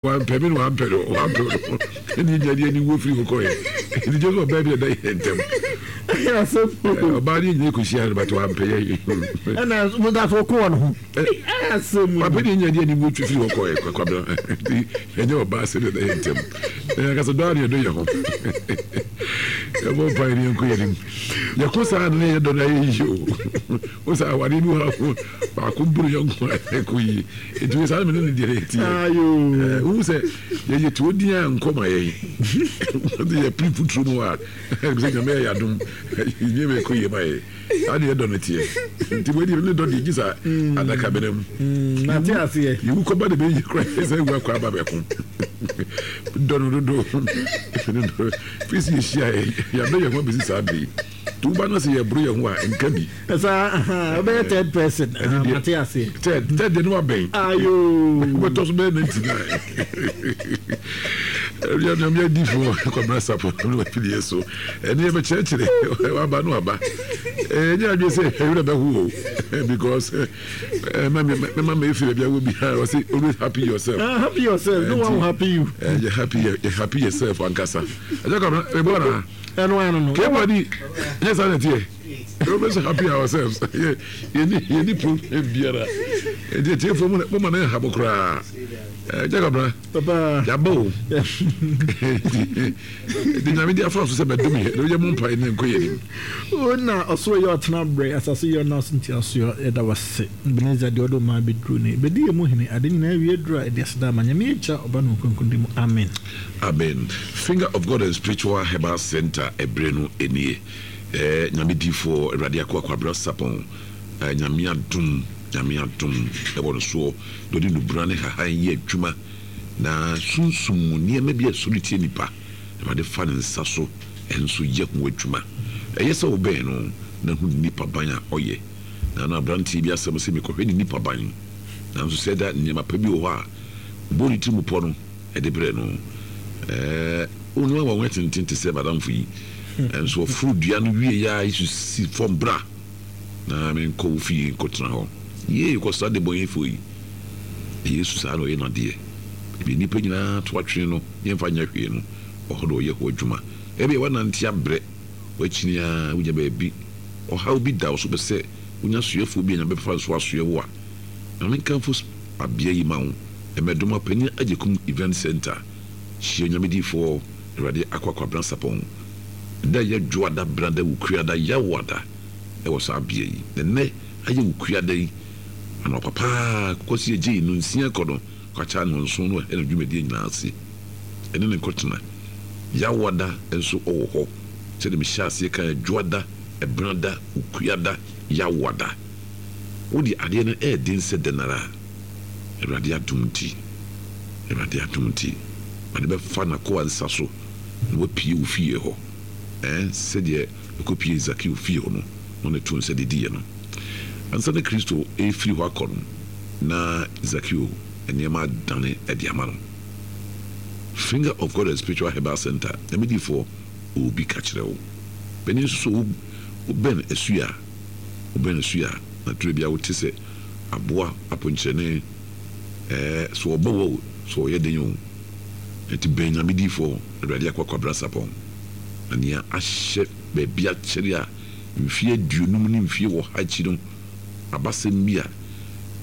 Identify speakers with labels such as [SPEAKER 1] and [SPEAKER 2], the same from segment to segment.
[SPEAKER 1] Wampɛ me na wampɛ no, wampɛ no. Ɛne yɛnya de aniwuo firi hɔ kɔɛ. Ɛnti gye sɛ ɔbaa bi na ɛda yɛn ntam. Ɔbaa no yɛnyina kɔhyia no but wampɛ yɛn.
[SPEAKER 2] Ɛna mo da so ko wɔn ho.
[SPEAKER 1] Wampɛ ne yɛnya de aniwuo twi firi hɔ kɔɛ kwakwabena. Ɛnti ɛnyɛ ɔbaa sɛ na ɛda yɛn ntam. Na yɛn ankasa dɔ ara na yɛdɔ yɛn ho. Yɛbɔ mpaeɛ ne yɛnkɔ yɛn anim. Yɛko saa na yɛdɔ no ayɛ yie o. Wo sɛ awadeɛ bi wɔ hɔ baako boro yɔnko a ɛkɔ yie. Nti wei saa na mene ne deɛ na ɛteɛ. Wohu sɛ yɛyɛ tuo din a nkɔ ma yɛn. Wode yɛ piri futuro mu a sɛ Nyame yɛ yɛadom nneɛma ɛkɔ yie ma yɛn. Saa deɛ ɛdɔ no teɛ. Nti wei deɛ ne dɔ deɛ gye sa adaka bena mu.
[SPEAKER 2] Nate aseɛ.
[SPEAKER 1] Yɛwu kɔba de bɛyɛ kora sɛ wu akɔ aba bɛko. Dɔ no dodo. Firi sɛ yɛhyia yɛadɔ yɛn ho abɛsi saa bere yi. Nti woba na sɛ yɛboro yɛn ho a, nka bi.
[SPEAKER 2] Saa, wobɛyɛ third person.
[SPEAKER 1] Ɛno deɛ,
[SPEAKER 2] Mate aseɛ.
[SPEAKER 1] Third, third deɛ no wabɛn.
[SPEAKER 2] Ayo.
[SPEAKER 1] Wobɛtɔ so bɛyɛ 99. Awia nyame adifoɔ Kwabena Sapɔ no wafidie so. Ɛne yɛbɛkyerɛkyerɛ waba no aba. Ɛnyɛ adwene sɛ ɛwerɛ bɛho o because mɛma mɛfiri baabi awɔ biara ɔse always happy yourself.
[SPEAKER 2] Ah, happy yourself. No one will happy you.
[SPEAKER 1] Yɛ happy, yɛ happy yourself ankasa. Ɛkyɛ Kwabena, mebɔ anaa?
[SPEAKER 2] Ɛno ano no.
[SPEAKER 1] Kebadi, nyɛ saa na ɛteɛ. Always happy ourselves. Yɛni yɛni problem biara. Ɛdi atiefo mu mo ma ne nha mo koraa. Ɛgya kabra.
[SPEAKER 2] Papa.
[SPEAKER 1] Yaba o. Ɛdi nyame di afa so sɛ bɛdom yɛ. Na yɛ mo mpae ne nkɔ yɛ nim.
[SPEAKER 2] O na ɔsoro yɛ ɔtena brɛ, asase yɛ ɔna so ntiasoɔ. Yɛda wase. Ebenezer deɛ ɔde ɔman abɛduru ne. Bɛdi yɛn mu hene. Ade nyinaa awie duru a, yɛde aseda ama Nyame Agya, Ɔba ne Honhom Kronkron din mu. Amen.
[SPEAKER 1] Amen Finger of God and Spiritual Herbal Center ɛberɛ no nie eh Nyame difoɔ Awurade akoa Kwabena Sarpong eh Nyame adom Nyame adom ɛwɔ no soɔ na ɔde nubra ne hahan yɛ adwuma na sunsum mu nneɛma bi a ɛsɔre tia nipa Awurade fa ne nsa so nso yɛ ho adwuma Ɛyɛ sɛ wobɛn no na hu ne nipa ban a ɔyɛ Na na abranteɛ bi asɛm sɛ mekɔhwɛ ne nipa ban nanso sɛ da nneɛma pa bi wɔ hɔ a ɔbɔ ne tirim pɔ no de brɛɛ no. Ɛɛ, onua wɔ nwɛ tenten te sɛ m'adamfo yi. Nanso ɔforo dua no wiei ara Yesu si fam, Bra na menkɔ wo fie nkɔtena hɔ. Yei, kɔsra debɔneyɛfoɔ yi. Na Yesu saa na ɔyɛ n'adeɛ. Baabi a nnipa nyinaa to atwene no, yɛmfa nyɛ hwee no, ɔhɔ na ɔyɛ hɔ adwuma. Ebia woanante abrɛ, woakyini ara, wonya baabi, ɔhaw bi da wo so, wopɛ sɛ wonya soɛfoɔ bi a Nyame bɛfa no so asoɛ wo a, Ma menkamfo abea yi ma wo, Mmɛdoma Panyin Agyekum Event Centre, Hyia Onyame Difoɔ Awurade Akwa Kwabena Sarpong, da ɛyɛ Dwoada, Benada, Wukuada, Yawoada wɔ saa bea yi. Na nnɛ ayɛ Wukuada yi anɔpa paa Kwasi Agyei nnɔnsia kɔ no kwakya nnɔnson no ɛhɛ no dwumadie nyinaa ase ɛne no nkɔtena. Yawoada nso ɔwɔ hɔ sɛdeɛ mehyɛɛ aseɛ kaeɛ Dwoada, Ɛbenada, Wukuada, Yawoada. Wo deɛ adeɛ no ɛyɛ den sɛ dɛn ara a, Awurade adom nti, Awurade adom nti, Awurade bɛfa n'akoa nsa so na wapue wo fie hɔ, ɛɛ, sɛdeɛ ɔkɔpuee Zakeo fie hɔ no, na ɔne too nsa didiiɛ no. Ansa na Kristo refiri hɔ akɔ no, na Zakeo nneɛma adane de ama no. Finger of God and Spiritual Herbal Center, Nyame difoɔ, ɔwɔ bi ka kyerɛ wo. Panin nso so, wobɛn asu a, Wobɛn asu a, na turo biara wote sɛ aboa aponkyerɛne, ɛɛ, so ɔbɔ wɔ o, so ɔyɛ den o. Enti bɛn Nyame difoɔ, Awurade akoa Kwabena Sarpong, na nea ahyɛ baabi akyɛre a mfeɛ aduonum ne mfeɛ ɔha akyi no abasɛm bi a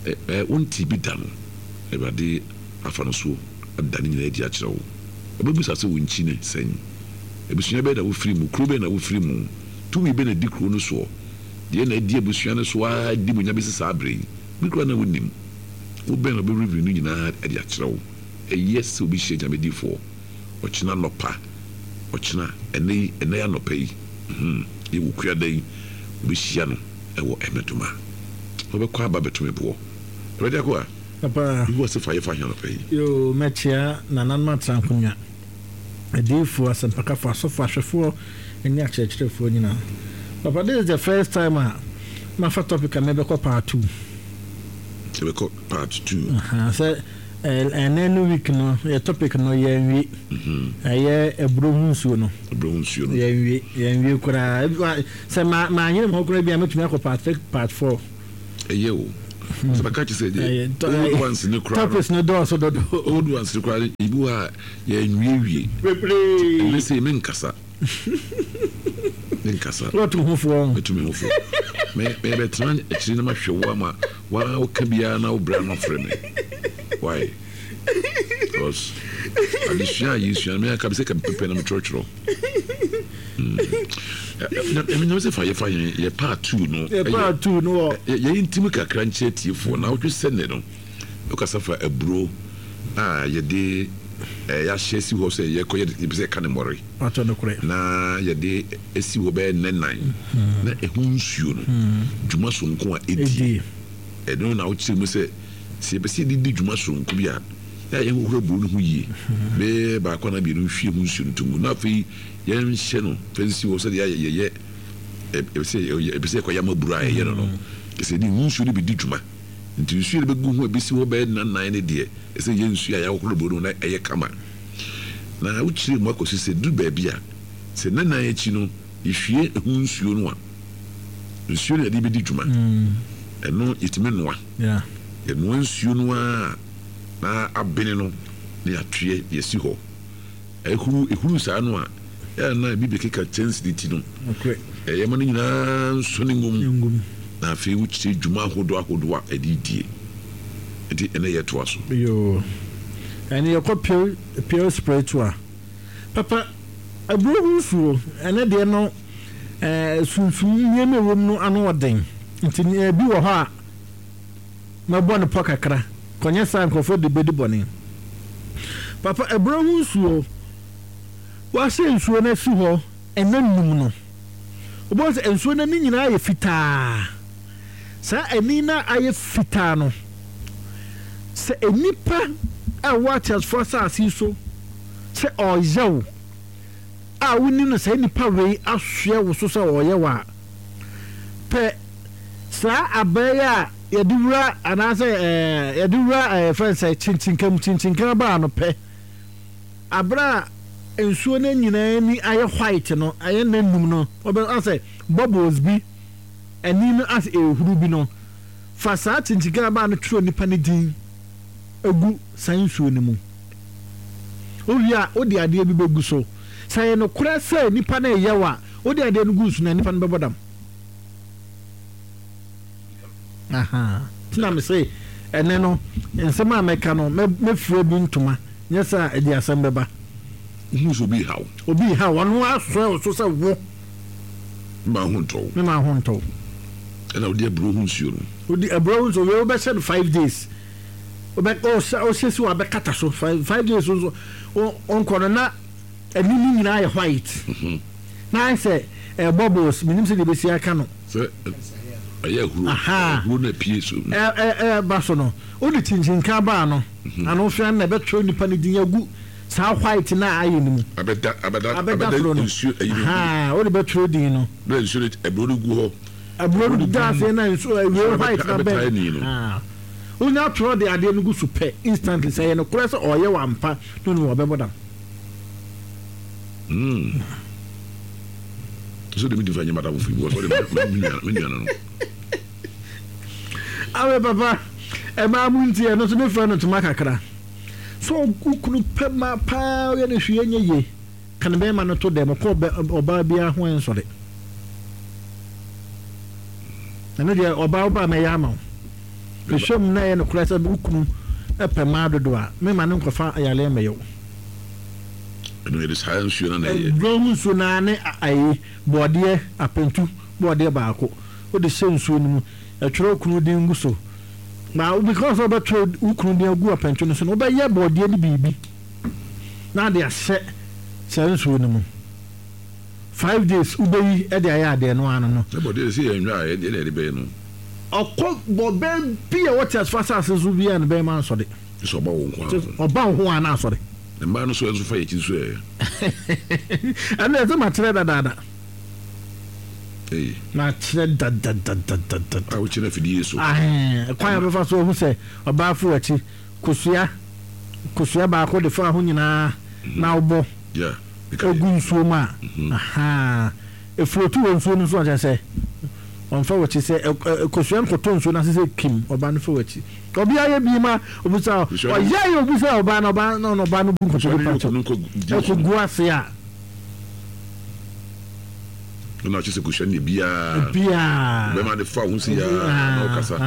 [SPEAKER 1] ɛɛ wontee bi da no, Awurade afa no so ada ne nyinaa adi akyerɛ wo. Ɔbɛbisa sɛ wo nkyi ne sɛn? Abusua bɛn na wofiri mu? Kuro bɛn na wofiri mu? Tumi bɛn na ɛdi kuro no soɔ? Deɛ na adi abusua no so ara di mu nya bɛsi saa berɛ yi. Bi koraa na wonnim. Wo bɛn na ɔbɛ review no nyinaa de akyerɛ wo. Ɛyɛ sɛ obi hyia Nyame difoɔ ɔkyena anɔpa, ɔkyena, ɛnɛ yi, ɛnɛ anɔpa yi, hmm, yɛ Wukuada yi, wobɛhyia no wɔ Ɛmɛdoma. Ɔbɛkɔ aba abɛto me boɔ. Awurade akoa,
[SPEAKER 2] Papa.
[SPEAKER 1] Yehowa se fa yɛ fa he anɔpa yi?
[SPEAKER 2] Yoo, mɛkyea nananom atena nkonwa. Adiyifoɔ, asɛmpakafoɔ, asɔfoɔ, ahwɛfoɔ ne akyerɛkyerɛfoɔ nyinaa. Papa this is the first time a mafa topic a mebɛkɔ part 2.
[SPEAKER 1] Yɛbɛkɔ part 2.
[SPEAKER 2] Aha, sɛ ɛnɛ no week no yɛ topic no yɛnwie. Mhm. Ɛyɛ aburo ho nsuo no.
[SPEAKER 1] Aburo ho nsuo no.
[SPEAKER 2] Yɛnwie, yɛnwie koraa. Sɛ ma maanyere me ho koraa bi a mɛtumi akɔ part 3, part 4.
[SPEAKER 1] Ɛyɛ o. Sɛ bɛka kyerɛ sɛ deɛ old ones ne koraa no.
[SPEAKER 2] Topics no dɔɔso dodo.
[SPEAKER 1] Old ones ne koraa no ebi wɔ a yɛnwiewie.
[SPEAKER 2] Bebree.
[SPEAKER 1] Ɛnɛ sei menkasa. Menkasa.
[SPEAKER 2] Woatu ho fo ɔn.
[SPEAKER 1] Mɛtu me ho fo. Me mebɛtena akyiri na mahwɛ wo ama waa woka biara na wo bra no afrɛ me. Why? Because adesua a yɛsua no me anka sɛ ka mepɛpɛ na metwerɛtwerɛ. Nyame sɛ fa yɛfa yɛn yɛ part 2 no.
[SPEAKER 2] Yɛ part 2 no wɔ.
[SPEAKER 1] Yɛn ntim kakra nkyerɛ tiefoɔ na wotwe sɛ ne no wokasa fa aburo a yɛde yɛahyɛ si hɔ sɛ yɛkɔ yɛde yɛpɛ sɛ yɛka ne mmɔre na yɛde si hɔ bɛyɛ nnɛ nan na ɛho nsuo no dwuma sononko a ɛdi ɛno na wokyerɛ mu sɛ sɛ yɛpɛ sɛ yɛde di dwuma sononko bi a yɛ a yɛnhohoro aburo no ho yie bɛyɛ baako anaa mmienu nhwie ho nsuo no to ngu na afei yɛnhyɛ no fa nsi hɔ sɛdeɛ yɛyɛ yɛpɛ sɛ yɛpɛ sɛ yɛkɔyam aburo a yɛyɛ no no sɛ yɛde ho nsuo no bɛdi dwuma. Nti nsuo a yɛde bɛgu ho a ɛbɛsi hɔ bɛyɛ nna nnan no deɛ, ɛsɛ sɛ yɛyɛ nsuo a yɛahohoro aburo no ho na ɛyɛ kama. Na wokyerɛ mu akɔsi sɛ ɛduru baabi a, sɛ nna nnan akyi no yɛhwie ɛho nsuo no a, nsuo no a yɛde bɛdi dwuma, ɛno yɛtumi noa. Yɛnoa nsuo no ara na abene no na yɛatoɛ de asi hɔ. Ehuru ehuru saa no a, ɛyɛ a na ebi bɛkeka kyɛnsee no ti no. Ɛyɛ ma no nyinaa nsɔ ne ngum, na afei wokyerɛ dwuma ahodoɔ ahodoɔ a ɛde die. Nti ɛnɛ yɛtoa so.
[SPEAKER 2] Yoo. Ɛne yɛkɔ pure pure spiritual. Papa, aburo ho nsuo, ɛnɛ deɛ no ɛɛ sunsum nneɛma ɛwɔ mu no ano ɔden. Nti ebi wɔ hɔ a. Mɛbɔ no pɔ kakra, kɔnyɛ saa a nkurɔfoɔ de bɛdi bɔne. Papa, abura ho nsuo, woahyɛ nsuo no asi hɔ nna nnum no, wobɛhu sɛ nsuo no ani nyinaa ayɛ fitaa. Saa ani no a ayɛ fitaa no, sɛ nnipa a ɛwɔ ateasefoɔ asase yi so sɛ ɔreyɛ wo a wonim no saa nnipa wei asoɛ wo so sɛ ɔreyɛ wo a, pɛ Saa abaa yi a yɛde wura anaasɛ ɛɛ yɛde wura ɛɛ fɛn sɛ kyinkyinkam kyinkyinkam abaa no pɛ. Abere a nsuo no nyinaa ani ayɛ white no, ayɛ n'anum no, wɔbɛ asɛ bubbles bi ani no asɛ ehuru bi no, fa saa kyinkyinkam abaa no twerɛ nipa no din egu saa nsuo no mu. Wowie a, wode adeɛ bi bɛgu so. Sɛ ɛyɛ nokorɛ sɛ nipa no reyɛ wo a, wode adeɛ no gu nsu no a, nipa no bɛbɔ dam. Ahaa nti na mese ɛnɛ no nsɛm a mɛka no mɛfira bi ntoma nyɛ sɛ a ɛde asɛm bɛba.
[SPEAKER 1] Wohu sɛ obi reha wo.
[SPEAKER 2] Obi reha wo, ɔno asɔre wo so sɛ wo.
[SPEAKER 1] Me maa ho ntɔ wo.
[SPEAKER 2] Me maa ho ntɔ wo.
[SPEAKER 1] Ɛna wode aburo ho nsuo no.
[SPEAKER 2] Wode aburo ho nsuo, wei wobɛhyɛ no 5 days. Wobɛ ɔhyɛ ɔhyɛ si wɔ abɛkata so 5 days nso ɔnkɔ no na ani no nyinaa yɛ white. Na ayɛ sɛ ɛɛ bubbles, menim sɛdeɛ ɛbɛsi aka no.
[SPEAKER 1] Sɛ ɛyɛ ahuro, ahuro na apue so.
[SPEAKER 2] Ɛ ɛ ɛba so no, wode kyinkyinkran baa no, ano hwɛ na ɛbɛtwerɛ nipa no din agu saa white no a ayɛ no mu.
[SPEAKER 1] Abɛda abɛda
[SPEAKER 2] abɛda soro no.
[SPEAKER 1] Nsuo ayi no.
[SPEAKER 2] Ahaa, wode bɛtwerɛ din no.
[SPEAKER 1] Bɛrɛ nsuo no aburo no gu hɔ.
[SPEAKER 2] Aburo no da aseɛ na nsuo awie white na bɛn. Ahaa, wonya twerɛ de adeɛ no gu so pɛ instantly sɛ ɛyɛ nokorɛ sɛ ɔyɛ wo ampa na onim a ɔbɛbɔ dam.
[SPEAKER 1] Mm. So de mi di fa nye madam fi because ɔde me nua me nua no no.
[SPEAKER 2] Awe papa, ɛmaa mu nti ɛno nso mefrɛ no ntoma kakra. So okunu pɛ ma paa ɔyɛ no hwee nyɛ yie. Ka ne bɛrima no to dɛm ɔkɔ ɔbaa biara ho ɛnsɔre. Ɛno deɛ ɔbaa wobaa mɛyɛ ama wo. Hwehwɛ mu na ɛyɛ nokorɛ sɛ wo kunu pɛ mmaa dodo a, memma no nkɔfa yareɛ mmɛyɛ wo.
[SPEAKER 1] Ɛno yɛde saa nsuo no na ɛyɛ.
[SPEAKER 2] Aduro ho nsuo no ara ne ayi bɔɔdeɛ apantu bɔɔdeɛ baako wode hyɛ nsuo no mu ɛtwerɛ wo kunu din gu so na because wobɛtwerɛ wo kunu din agu apantu no so no wobɛyɛ bɔɔdeɛ no biribi na ade ahyɛ saa nsuo no mu. 5 days wobɛyi de ayɛ adeɛ no ano no.
[SPEAKER 1] Sɛ bɔdeɛ sɛ yɛn hwɛ a ɛdeɛ na yɛde bɛyɛ no.
[SPEAKER 2] Ɔkɔ bɔ bɛn bi a wɔte asfo asase so bi a ne bɛrima ansɔre.
[SPEAKER 1] Sɛ ɔba wo nko
[SPEAKER 2] ara. Ɔba wo ho a na asɔre.
[SPEAKER 1] Mmaa no so ɛnso fa yɛ akyi nso ɛ.
[SPEAKER 2] Ɛno ɛsɛ makyerɛ dadaada. Makyerɛ dadadadadada.
[SPEAKER 1] A wokyerɛ afidie so.
[SPEAKER 2] Kwan a bɛfa so ɔhu sɛ ɔbaa fo akyi kosua kosua baako de fa ho nyinaa na wobɔ. Egu nsuo mu a, ahaa, efurotu wɔ nsuo no so a kyerɛ sɛ. Ɔmfa w'akyi sɛ kosua nkɔtɔ nsuo no ase sɛ kim, ɔbaa no fa w'akyi. Ɔbea yɛ bi ma obi sɛ ɔyɛ yɛ obi sɛ ɔbaa no ɔbaa no ɔbaa no bu nkotodwe pa kyɛw ɛkɔ gu ase a.
[SPEAKER 1] Ɛna ɔkyɛ sɛ kosua no yɛ biara.
[SPEAKER 2] Biara.
[SPEAKER 1] Bɛma de fa ho si ya na ɔkasa.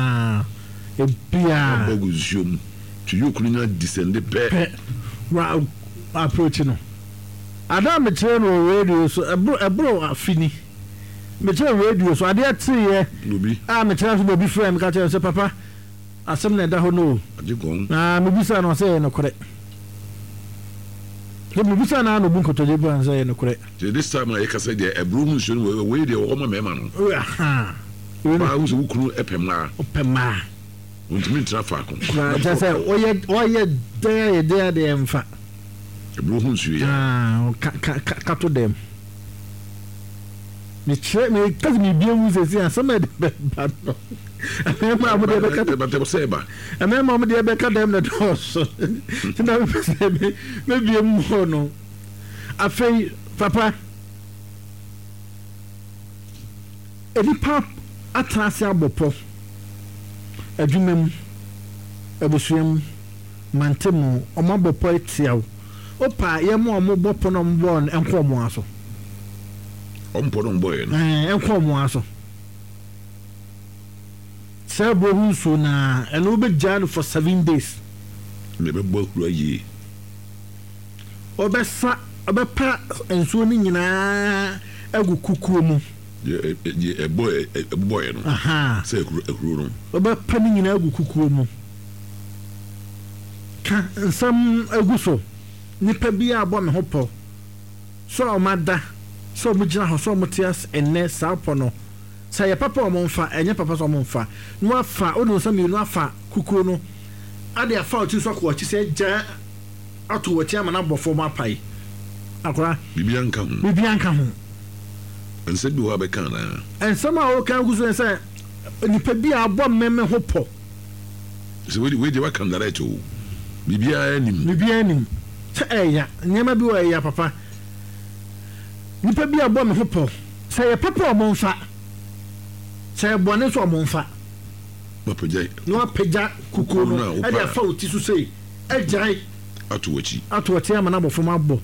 [SPEAKER 2] Biara.
[SPEAKER 1] Ɔbɔ gu nsuo mu. Ti yoke no nya descende pɛ.
[SPEAKER 2] Pɛ. Wa approach no. Ada a mekyerɛ no wɔ radio so ɛboro ɛboro afe ni. Mekyerɛ radio so adeɛ teeɛ a mekyerɛ so na obi frɛ me ka kyerɛ me sɛ papa asɛm na ɛda hɔ no o. Na mebisa no ɔsɛ ɛyɛ nokorɛ. Sɛ mebisa no a na obu nkotodwe bua no sɛ ɛyɛ nokorɛ.
[SPEAKER 1] Nti this time a yɛkasa deɛ ɛboro ho nsuo no wei deɛ wɔwɔ ma mmarima no. Baa ho sɛ wo kunu pɛ mmaa.
[SPEAKER 2] Ɔpɛ mmaa.
[SPEAKER 1] Ɔntumi ntena faako.
[SPEAKER 2] Koraa kyerɛ sɛ ɔyɛ ɔyɛ dɛn ayɛ dɛn adeɛ mfa.
[SPEAKER 1] Ɛboro ho nsuo yi
[SPEAKER 2] ara. Ka ka ka kato dɛm. Mekyerɛ meka sɛ mebie mu sɛsi asɛm a ɛde bɛba no. Mmarima a wɔde bɛka
[SPEAKER 1] dɛm sɛ ɛba.
[SPEAKER 2] Mmarima a wɔde bɛka dɛm na dɔɔso. Nti na mepɛ sɛ mebie mu hɔ no. Afei papa nnipa atena ase abɔ pɔ adwuma mu, abusua mu. Mante mo, ɔmo abɔ pɔ atia wo. Wopɛ a yɛma ɔmo bɔ pɔ no a ɔmo bɔɔ no nkɔ ɔmo ara so.
[SPEAKER 1] Ɔmo pɔ no ɔmo bɔeɛ no.
[SPEAKER 2] Ɛɛ, nkɔ ɔmo ara so. Saa aburo ho nsuo no ara, ɛno wobɛgyaa no for 7 days.
[SPEAKER 1] Na ɛbɛbɔ ahuru ayie.
[SPEAKER 2] Wobɛsa, wobɛpa nsuo no nyinaa agu kukuo mu.
[SPEAKER 1] Deɛ deɛ ɛbɔ ɛbobɔeɛ no.
[SPEAKER 2] Ahaa.
[SPEAKER 1] Sɛ ahuru ahuro no.
[SPEAKER 2] Wobɛpa ne nyinaa agu kukuo mu. Ka nsɛm gu so. Nnipa biara bɔ me ho pɔ. Sɛ wɔada, sɛ wɔgyina hɔ, sɛ wɔte ase nnɛ, saa pɔ no, sɛ ɛyɛ papa a wɔmfa, ɛnyɛ papa nso a wɔmfa. Na woafa, wode wo nsa mmienu afa kukuo no de afa wo tiri so akɔ w'akyi sɛ gya ato w'akyi ama no abɔ fam apae. Akora.
[SPEAKER 1] Biribiara nka ho.
[SPEAKER 2] Biribiara nka ho.
[SPEAKER 1] Nsɛm bi wɔ hɔ a bɛka anaa?
[SPEAKER 2] Nsɛm a woka gu so ne sɛ, nipa bi a abɔ me me ho pɔ.
[SPEAKER 1] Sɛ wei wei deɛ waka no direct o. Biribiara nim.
[SPEAKER 2] Biribiara nim. Sɛ ɛya, nneɛma bi wɔ ɛya papa. Nipa bi a bɔ me ho pɔ. Sɛ ɛyɛ papa a ɔmo nfa. Sɛ ɛyɛ bɔne nso a ɔmo nfa.
[SPEAKER 1] Wapagya.
[SPEAKER 2] Na wapagya kukuo no ɛde afa wo ti so sei. Agyae.
[SPEAKER 1] Ato w'akyi.
[SPEAKER 2] Ato w'akyi ama no abɔ fam abɔ.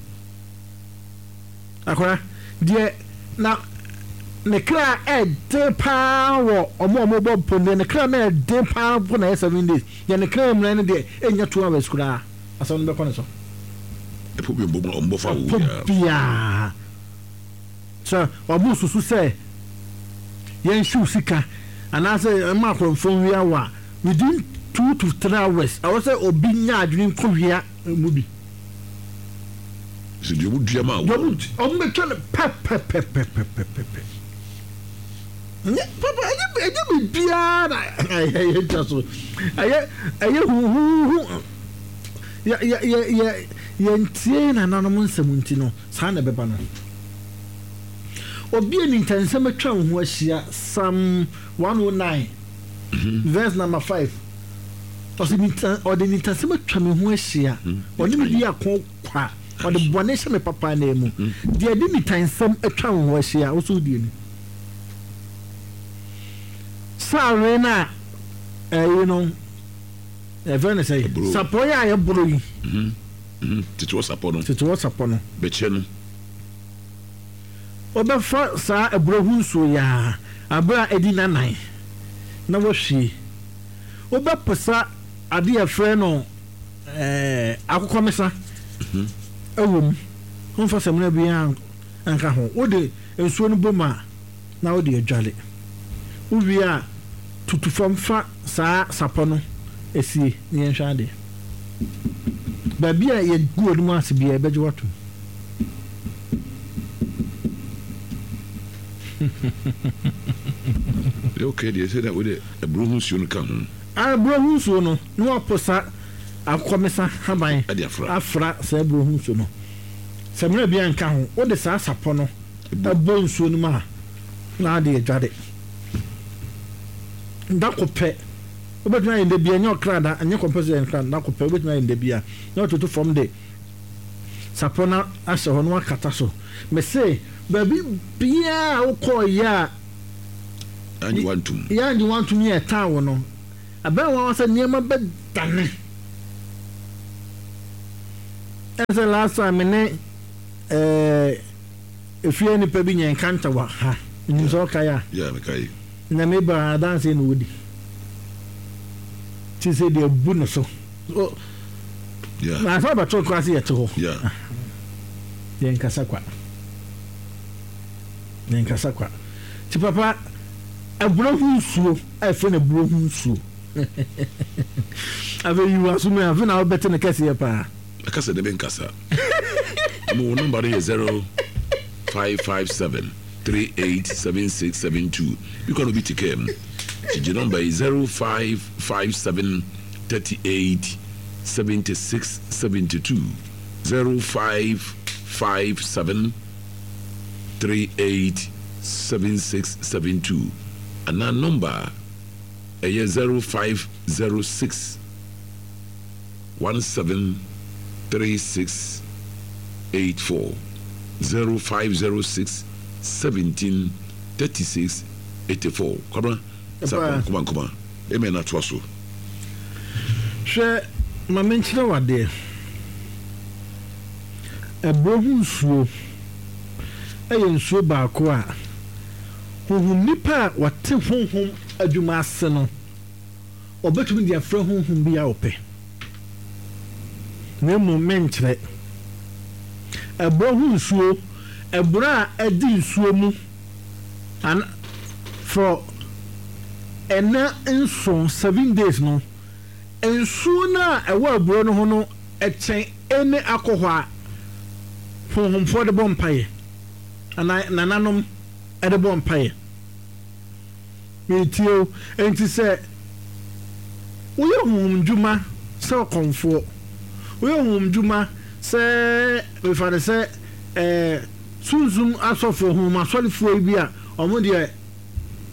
[SPEAKER 2] Akora, deɛ na ne kra ɛden paa wɔ ɔmo a ɔmo bɔ mpo deɛ ne kra na ɛden paa mpo na ɛyɛ 7 days, deɛ ne kra mmerɛ no deɛ ɛnnya 2 hours koraa asɛm no bɛkɔ ne so.
[SPEAKER 1] Ɛpo bi ɔmo ɔmo bɔ fa wo
[SPEAKER 2] Ɛpo
[SPEAKER 1] biara.
[SPEAKER 2] biara sɛ ɔmo susu sɛ yɛn hyew sika anaasɛ ɛma akɔnfo nwia wɔ a within 2 to 3 hours ɛwɔ sɛ obi nya adwene nkɔ wia mu bi.
[SPEAKER 1] Sɛ deɛ ɔmo dua maa
[SPEAKER 2] Deɛ
[SPEAKER 1] wo.
[SPEAKER 2] ɔmo ɔmo bɛtwa no pɛpɛpɛpɛpɛpɛ. Ɛnyɛ papa ɛnyɛ ɛnyɛ biribiara na ɛyɛ ɛyɛ twa so. Ɛyɛ ɛyɛ huhuhu. Yɛ yɛ yɛ yɛ yɛntie nananom nsɛm nti no saa na ɛbɛba no. Obi a nintɛnsɛm atwa wo ho ahyia Psalm 109 verse number 5. Ɔsɛ nita ɔde nintɛnsɛm atwa me ho ahyia. Ɔne me di ako kwa. Ɔde bɔne hyɛ me papa anan mu. Deɛ ɛde nitansɛm atwa wo ho ahyia, wo so wodi ani. Sawe no a ɛyi no, ɛfɛ no sɛ sapɔ yi a yɛboro yi.
[SPEAKER 1] Tete wɔ sapɔ no.
[SPEAKER 2] Tete wɔ sapɔ no.
[SPEAKER 1] Bɛkyɛ no.
[SPEAKER 2] Wɔbɛfa saa aburo ho nsuo yi ara abere a edi nnanan na wɔahwie. Wobɛposa adeɛ a yɛfrɛ no akokɔmesa wɔ mu. Womfa samina biara nka ho. Wode nsuo no bom a, na wode adware. Wowie a, tutu fam fa saa sapɔ no sie na yɛnhwɛ adeɛ. Baabi a yɛgu w'anim ase biara, yɛbɛgye wo atom.
[SPEAKER 1] Okay deɛ sɛ na wode aburo ho nsuo no ka ho.
[SPEAKER 2] Aburo ho nsuo no, na waposa akokɔmesa haban afra saa aburo ho nsuo no. Samina biara nka ho. Wode saa sapɔ no bɔ nsuo no mu a, na ade adware. Da ko pɛ, wobɛtumi ayɛ no da biara, ɛnyɛ ɔkra da, ɛnyɛ compulsory sɛ ɔkra da ko pɛ, wobɛtumi ayɛ no da biara. Na watoto fam de sapɔ no ahyɛ hɔ na wakata so. Mese baabi biara a wokɔeɛ a.
[SPEAKER 1] Yɛangye wo antom.
[SPEAKER 2] Yɛangye wo antom ne yɛtan wo no, ɛbɛyɛ nwanwa sɛ nneɛma bɛdane. Ɛne sɛ last time me ne ɛɛ efie nipa bi nyɛ nkanta wɔ ha. Nim sɛ ɔkae a.
[SPEAKER 1] Yeah, mekae.
[SPEAKER 2] Na me ba adanse na odi. Ti sɛ deɛ bu ne so.
[SPEAKER 1] Yeah.
[SPEAKER 2] Na afa bɛto koraa sɛ yɛte hɔ.
[SPEAKER 1] Yeah.
[SPEAKER 2] Yɛnkasa kwa. Yɛnkasa kwa. Ti papa, aburo ho nsuo a ɛfrɛ no aburo ho nsuo. Afei yi w'aso mu afei na wobɛte no kɛseɛ paa.
[SPEAKER 1] Ɛka sɛ ne menkasa. Mo wo nɔmba no yɛ 0557 387672. Bi kora na obi te kaa mu. Gyegye nɔmba yi 0557 38 76 72. 0557 38 76 72 anaa nɔmba a ɛyɛ 0506 17 36 84, 0506 17 36 84. Kwabena Sarpong Nkoma Nkoma, Amen atoa so.
[SPEAKER 2] Hwɛ, ma menkyerɛ wo adeɛ. Ɛborɔ ho nsuo yɛ nsuo baako a honhom nipa a ɔte honhom adwuma ase no, ɔbɛtumi de afrɛ honhom bi a ɔpɛ. Na mmom menkyerɛ. Ɛborɔ ho nsuo, ɛborɔ a ɛdi nsuo mu an for ɛna nson, seven days no, nsuo no a ɛwɔ ɛborɔ no ho no kyɛn any alcohol a honhomfoɔ de bɔ mpaeɛ anaa nananom de bɔ mpaeɛ. Meretie wo. Enti sɛ woyɛ honhom dwuma sɛ ɔkɔmfoɔ, woyɛ honhom dwuma sɛ mefa no sɛ ɛɛ sunsum asɔfoɔ, honhom asɔrefoɔ yi bi a wɔn deɛ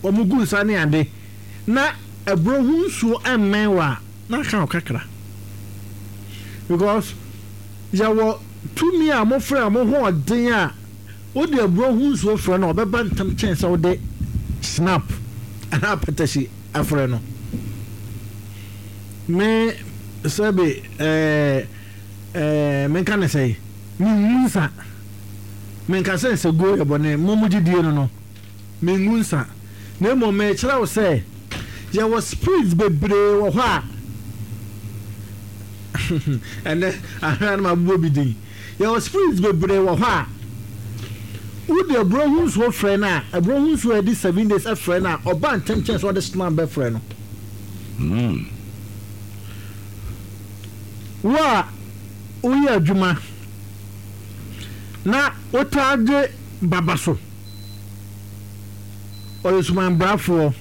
[SPEAKER 2] wɔn gu nsa ne ade na ɛborɔ ho nsuo mmɛn wo a, na aka wo kakra. Because yɛwɔ tumi a wɔfrɛ wɔn ho ɔden a Wode aburoo ho nsuo frɛ no a, ɔbɛba ntɛm kyɛn sɛ wode snap anaa apɛtɛhye afrɛ no. Me sɛbe ɛɛ ɛɛ menka ne sɛe, mengu nsa. Menka sɛ nsaguo yɛ bɔne, mo mo gyedie no no, mengu nsa. Na mmom merekyerɛ wo sɛ yɛwɔ spirits bebree wɔ hɔ a ɛnɛ ahwɛ a na mabobɔ bi din. Yɛwɔ spirits bebree wɔ hɔ a, wode aburo ho nsuo frɛ no a, aburo ho nsuo a yɛde 7 days frɛ no a, ɔba ntɛm kyɛn sɛ ɔde slam bɛfrɛ no. Wo a woyɛ adwuma na wotaa gye baba so, ɔyɛ sumanbrafoɔ,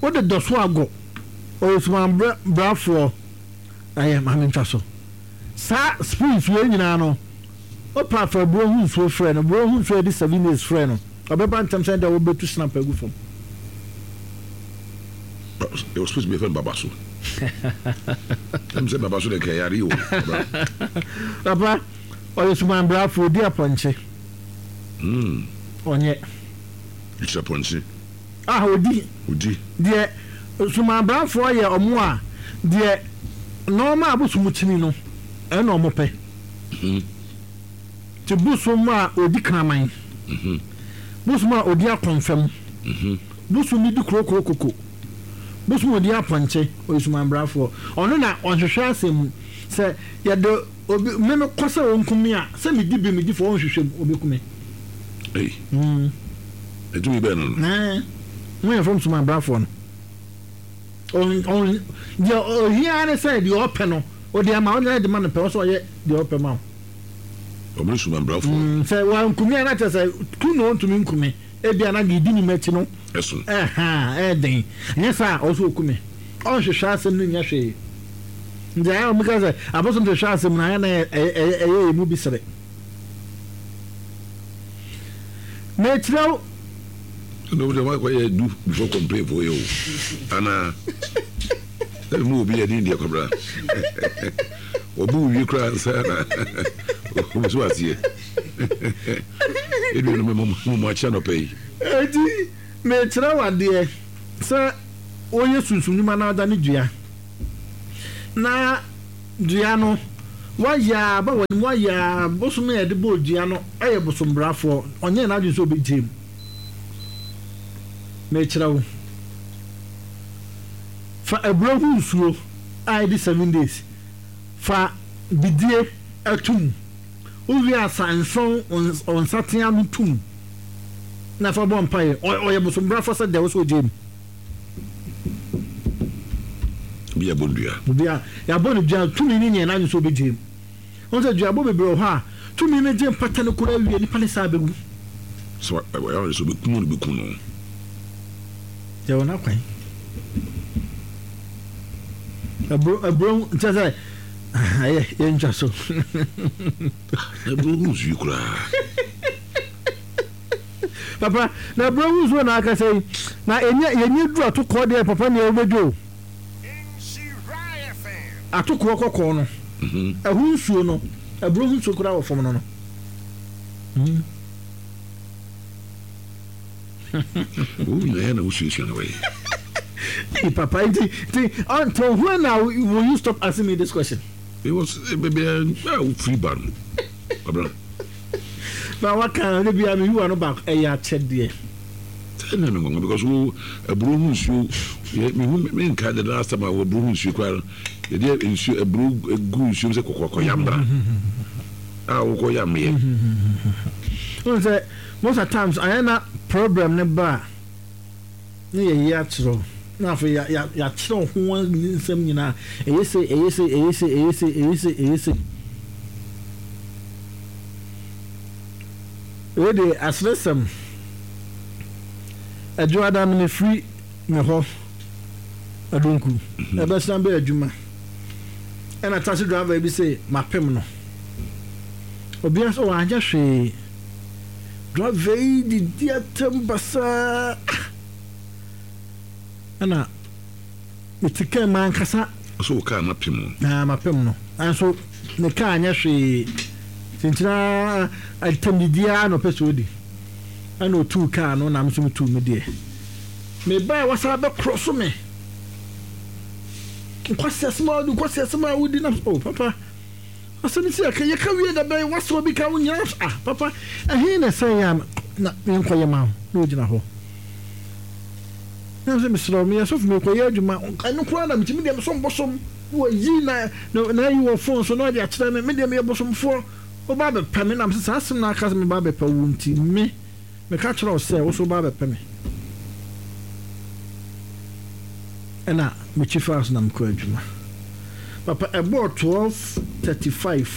[SPEAKER 2] wode dɔ so agɔ, ɔyɛ sumanbrafoɔ, ɛyɛ ma mentwa so. Saa spoons wei nyinaa no, wopɛ a fa aburo ho nsuo frɛ no, aburo ho nsuo a yɛde 7 days frɛ no, ɔbɛba ntɛm sɛ deɛ wobɛtu snap agu fam.
[SPEAKER 1] Yɛwɔ spoons bi yɛfrɛ no baba so. Ɛm sɛ baba so deɛ nka ɛyare o.
[SPEAKER 2] Papa, ɔyɛ sumanbrafo, ɔdi apɔnkye. Ɔnyɛ.
[SPEAKER 1] Ɛkyerɛ apɔnkye.
[SPEAKER 2] A ɔdi.
[SPEAKER 1] Ɔdi.
[SPEAKER 2] Deɛ sumanbrafoɔ yɛ ɔmo a, deɛ nɔɔma a bosom kyini no, ɛna ɔmo pɛ. Nti bosom a ɔdi kraman, bosom a ɔdi akɔnfɛm, bosom bi di krokro koko, bosom a ɔdi apɔnkye, ɔyɛ sumanbrafoɔ. Ɔno na ɔnhwehwɛ asɛm mu. Sɛ yɛde obi, me me kɔ sɛ ɔnku me a, sɛ medi bem, medi fɔ, ɔnhwehwɛ mu, ɔbɛku me.
[SPEAKER 1] Ei. Ɛtumi bɛn no no?
[SPEAKER 2] Ɛɛ, mo yɛ fam sumanbrafoɔ no. Ɔn, ɔn, deɛ ɔhia ara ne sɛ deɛ ɔpɛ no, ɔde ama wo, ɔde ma no pɛ, ɔsɛ ɔyɛ deɛ ɔpɛ ma wo.
[SPEAKER 1] Ɔmo ne sumanbrafoɔ.
[SPEAKER 2] Sɛ wanku me a, na kyerɛ sɛ ku na ɔntumi nku me. Ebia na deɛ ɛdi ne m'akyi no.
[SPEAKER 1] Ɛso.
[SPEAKER 2] Ɛha, ɛyɛ den. Nyɛ saa a, ɔsɛ ɔku me. Ɔnhwehwɛ asɛm no nyɛ hwee. Nti ayɛ a wɔka sɛ abosom hwehwɛ asɛm no, ayɛ na ɛyɛ yɛn mu bi sere. Mekyerɛ wo.
[SPEAKER 1] Ɛna wo deɛ wakɔyɛ du before complain for yɛ o. Anaa. Ɛna mu obi yɛ din deɛ kwabra. Wɔbu wo wie koraa nsa na obi so aseɛ. Edu no mo mo akyɛ nɔpɛ yi.
[SPEAKER 2] Eti. Mekyerɛ wo adeɛ sɛ woyɛ sunsum nnwuma na adane dua na dua no woayɛ a ba w'anim woayɛ a bosom a yɛde bɔɔ dua no yɛ bosombrafoɔ ɔnyɛɛ n'adwene sɛ ɔbɛgyae mu. Mekyerɛ wo fa aburo ho nsuo a ɛdi 7 days fa bidie to mu. Wowie a sa nsõ wo nsateaa no tom na fa bɔ mpaeɛ. Ɔyɛ bosombrafo sɛ deɛ wo sɛ ɔgyae mu.
[SPEAKER 1] Obi a yɛabɔ no dua.
[SPEAKER 2] Obi a yɛabɔ no dua, tumi no nyɛ n'adwene sɛ ɔbɛgyae mu. Wohu sɛ duabɔ bebree wɔ hɔ a, tumi no gye mpata no koraa wie a, nipa no san bɛwu.
[SPEAKER 1] Sɛ ɔyɛ ɔde sɛ ɔbɛku no, ɔbɛku no.
[SPEAKER 2] Yɛwɔ n'akwan. Aburo, aburo, nkyɛ sɛ Ayɛ yɛntwa so.
[SPEAKER 1] Na aburo ho nsuo koraa.
[SPEAKER 2] Papa, na aburo ho nsuo na akasa yi. Na yɛnyɛ yɛnyɛ duru atokoɔ deɛ papa nea wobɛdwo o. Atokoɔ kɔkɔɔ no, ɛho nsuo no, aburo ho nsuo koraa wɔ fam no no.
[SPEAKER 1] Wo nyinaa na wosuasua na wɔyɛ.
[SPEAKER 2] Hey, Papa, nti, nti, until when now will you stop asking me this question?
[SPEAKER 1] It was baby, a wofiri ba no. Abra.
[SPEAKER 2] Na waka ne bia me yiwa no baako ɛyɛ akyɛdeɛ.
[SPEAKER 1] Sɛ na me nwanwa because wo aburo ho nsuo me hu me nka the last time a wo aburo ho nsuo koraa no yɛde nsuo aburo gu nsuo sɛ kɔkɔkɔ yambra a wokɔ yameɛ.
[SPEAKER 2] Wohu sɛ most of times ayɛ na problem no ba a na yɛyi akyerɛ wo na afei yɛakyerɛ wo ho nsɛm nyinaa ɛyɛ sei ɛyɛ sei ɛyɛ sei ɛyɛ sei ɛyɛ sei ɛyɛ sei. Wei deɛ aseresɛm. Adwoada no mefiri me hɔ Adonku ɛbɛsan bɛ adwuma ɛna taxi driver bi se mapem no. Obia sɛ wanyɛ hwee. Driver yi didi atɛm basaa ɛna mete kaa mu ankasa.
[SPEAKER 1] Ɔsɛ wo kaa no apem
[SPEAKER 2] o. Na mapem no nanso ne kaa nyɛ hwee. Kyenkyena atɛmdidi ara na ɔpɛ sɛ ɔdi. Ɛna ɔtuu kaa no na me nso metuu me deɛ. Mebae wasan bɛkorɔ so me. Nkwasiasɛm a wodi, nkwasiasɛm a wodi na oh papa. Asɛm yi sɛ yɛka yɛka wie da bɛn wasɛ obi ka wo nyina ah papa ɛhe na ɛsɛ yɛ a na menkɔyɛ ma wo na ogyina hɔ na sɛ mesrɛ wo meyɛ sɔfo mekɔyɛ adwuma ɛno koraa na metumi deɛ mesom bosom na wayi na na ayi wɔ fon so na ɔde akyerɛ me me deɛ meyɛ bosomfoɔ woba abɛpɛ me nam sɛ saa asɛm na aka sɛ meba abɛpɛ wo nti me Meka kyerɛ wo sɛ wo nso woba abɛpɛ me. Ɛna mekyi faa so na mekɔɔ adwuma. Papa, ɛbɔɔ 12:35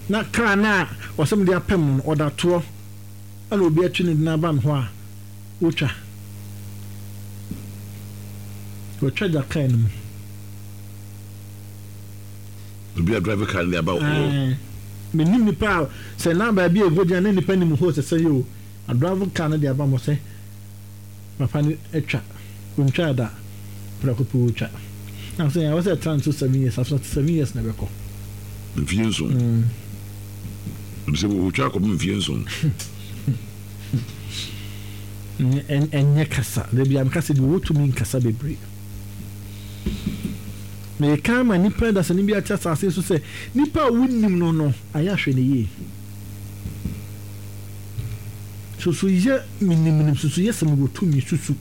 [SPEAKER 2] na kaa no a ɔsɛ mede apem no no, ɔda toɔ ɛna obi atwi ne de aba me hɔ a wotwa. Wɔtwa gya kaa no mu.
[SPEAKER 1] Obi a drive car no de aba wo hɔ.
[SPEAKER 2] Menim nipa a sɛ na baabi a ɛkɔgyina na nipa nim hɔ sɛ sɛ yɛ o adrive car no de aba mo sɛ papa no atwa ɔntwaa da prɛko pɛ ɔtwa na sɛ ɛwɔ sɛ ɛtra nso 7 years after 7 years na ɛbɛkɔ.
[SPEAKER 1] Mfie nson. Sɛ wɔtwa akɔpem mfie nson.
[SPEAKER 2] Ɛnyɛ kasa da bi a meka sɛ deɛ ɔwɔ tumi nkasa bebree. Mereka ama nnipa dasani bi ate asase so sɛ, nipa a wonnim no no, ayɛ ahwɛ no yie. Susu yɛ menimnim, susu yɛ sɛ mewɔ tumi, susu.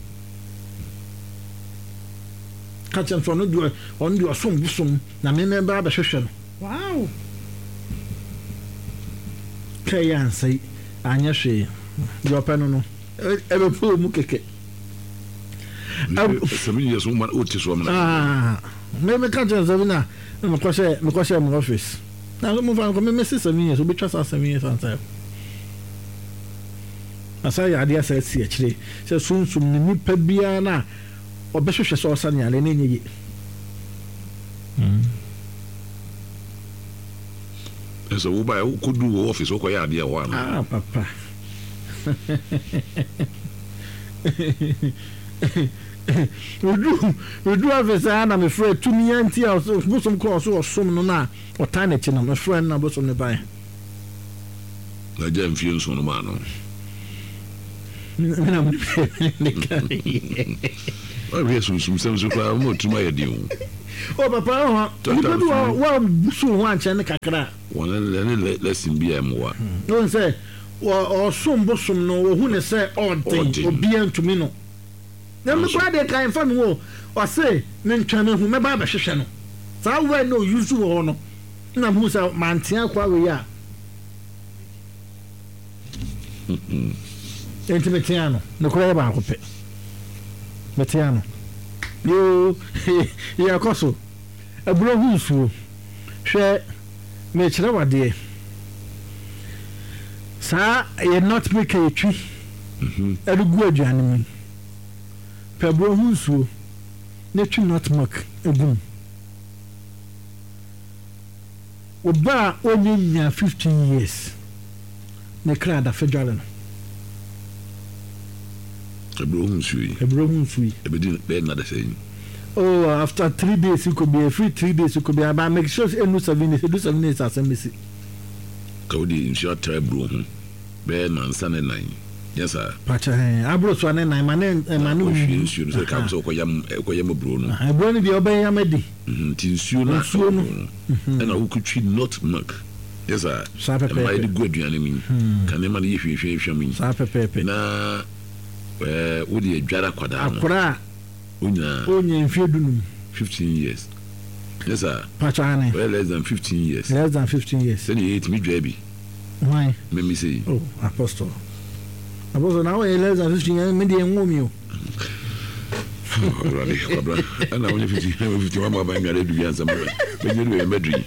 [SPEAKER 2] Ka kyerɛ no sɛ ɔno deɛ ɔno deɛ ɔsom bosom na me mɛba abɛhwehwɛ no. Wow! Ka yi ansɛe, anyɛ hwee. Deɛ ɔpɛ no no, ɛbɛpɛ wɔ mu kɛkɛ. Me meka kyerɛ sɛ na mekɔhyɛ mekɔhyɛ mo office na so mofa nkɔ me mese 7 years obɛtwa saa 7 years ansa na saa yɛ adeɛ asa asi akyire sɛ sunsum ne nipa biara no a ɔbɛhwehwɛ sɛ ɔsa ne yare no ɛnyɛ ye.
[SPEAKER 1] Sɛ wobaɛ wokɔdu wɔ office wokɔyɛ adeɛ wɔ hɔ
[SPEAKER 2] anaa? Ah papa. Meduru meduru office a na mefrɛ tumi anti a bosom kɔ ɔso ɔsom no na ɔtaa n'akyi no mefrɛ no na bosom no bae.
[SPEAKER 1] Na gya mfie nson no maa no.
[SPEAKER 2] Me na me ka.
[SPEAKER 1] Wahwɛ sunsumsɛm so koraa wɔn tirim ayɛ den o.
[SPEAKER 2] O papa ɔhɔ nipa bi wɔ wa busu ho ankyɛn ne kakra.
[SPEAKER 1] Wɔn ɛne lesson bi a ɛmoa.
[SPEAKER 2] Wɔn sɛ ɔsom bosom no wɔhu ne sɛ ɔden obiara ntumi no. Na me koraa deɛ kan mfa me ho ɔse mentwɛn me ho mɛba abɛhwehwɛ no. Saa word na ɔuse wɔ hɔ no na mehu sɛ mantea akoa wei a. Enti meteaa no. Nokorɛ yɛ baako pɛ. Meteaa no. Yoo, yɛkɔ so. Aburo ho nsuo. Hwɛ, merekyerɛ wo adeɛ. Saa yɛ nutmeg a yɛtwi de gu aduane mu yi. Pɛ aburo ho nsuo na twi nutmeg gu mu. Wo ba a ɔnnya nyaa 15 years ne kra da fedwale no.
[SPEAKER 1] Ɛbrɛ ho nsuo yi.
[SPEAKER 2] Ɛbrɛ ho nsuo yi.
[SPEAKER 1] Ɛbɛdi bɛyɛ nna dasɛn.
[SPEAKER 2] Oh, after 3 days kɔ bi, ɛfiri 3 days kɔ bi, but make sure sɛ ɛnnu 7 days, ɛdu 7 days asɛm bɛsi.
[SPEAKER 1] Ka wode nsuo atra aburo ho bɛyɛ nansa ne nan, nyɛ saa?
[SPEAKER 2] Pakyɛ hɛn, aboro so a ne nan, ma ne ma ne.
[SPEAKER 1] Wɔhwie nsuo no sɛ ka sɛ wɔkɔyam ɛkɔyam aburo no.
[SPEAKER 2] Aburo no deɛ ɔbɛyam adi.
[SPEAKER 1] Nti nsuo no
[SPEAKER 2] nsuo no
[SPEAKER 1] ɛna wokɔtwi nutmeg, nyɛ saa?
[SPEAKER 2] Saa pɛpɛɛpɛ.
[SPEAKER 1] Ɛma yɛde gu aduane mu yi, ka nneɛma no yɛ hwamhwamhwam yi.
[SPEAKER 2] Saa pɛpɛɛpɛ.
[SPEAKER 1] Na ɛɛ wode adware akwadaa no.
[SPEAKER 2] Akwadaa
[SPEAKER 1] a Onyaa.
[SPEAKER 2] Onyaa mfie 15.
[SPEAKER 1] 15 years. Nyɛ saa?
[SPEAKER 2] Pakyɛ aane.
[SPEAKER 1] Ɔyɛ less than 15 years.
[SPEAKER 2] Less than 15 years.
[SPEAKER 1] Sɛdeɛ yɛtumi dwaa bi.
[SPEAKER 2] Hwan?
[SPEAKER 1] Meme sei.
[SPEAKER 2] Oh, Apostle. Apostle, na woyɛ less than 15 years, me deɛ nwo mi o.
[SPEAKER 1] Awurade, kwabra, ɛna wonyɛ 15, 15 wama aba nnuane adu bi ansa mɛnyɛ du baabi mɛduru yi.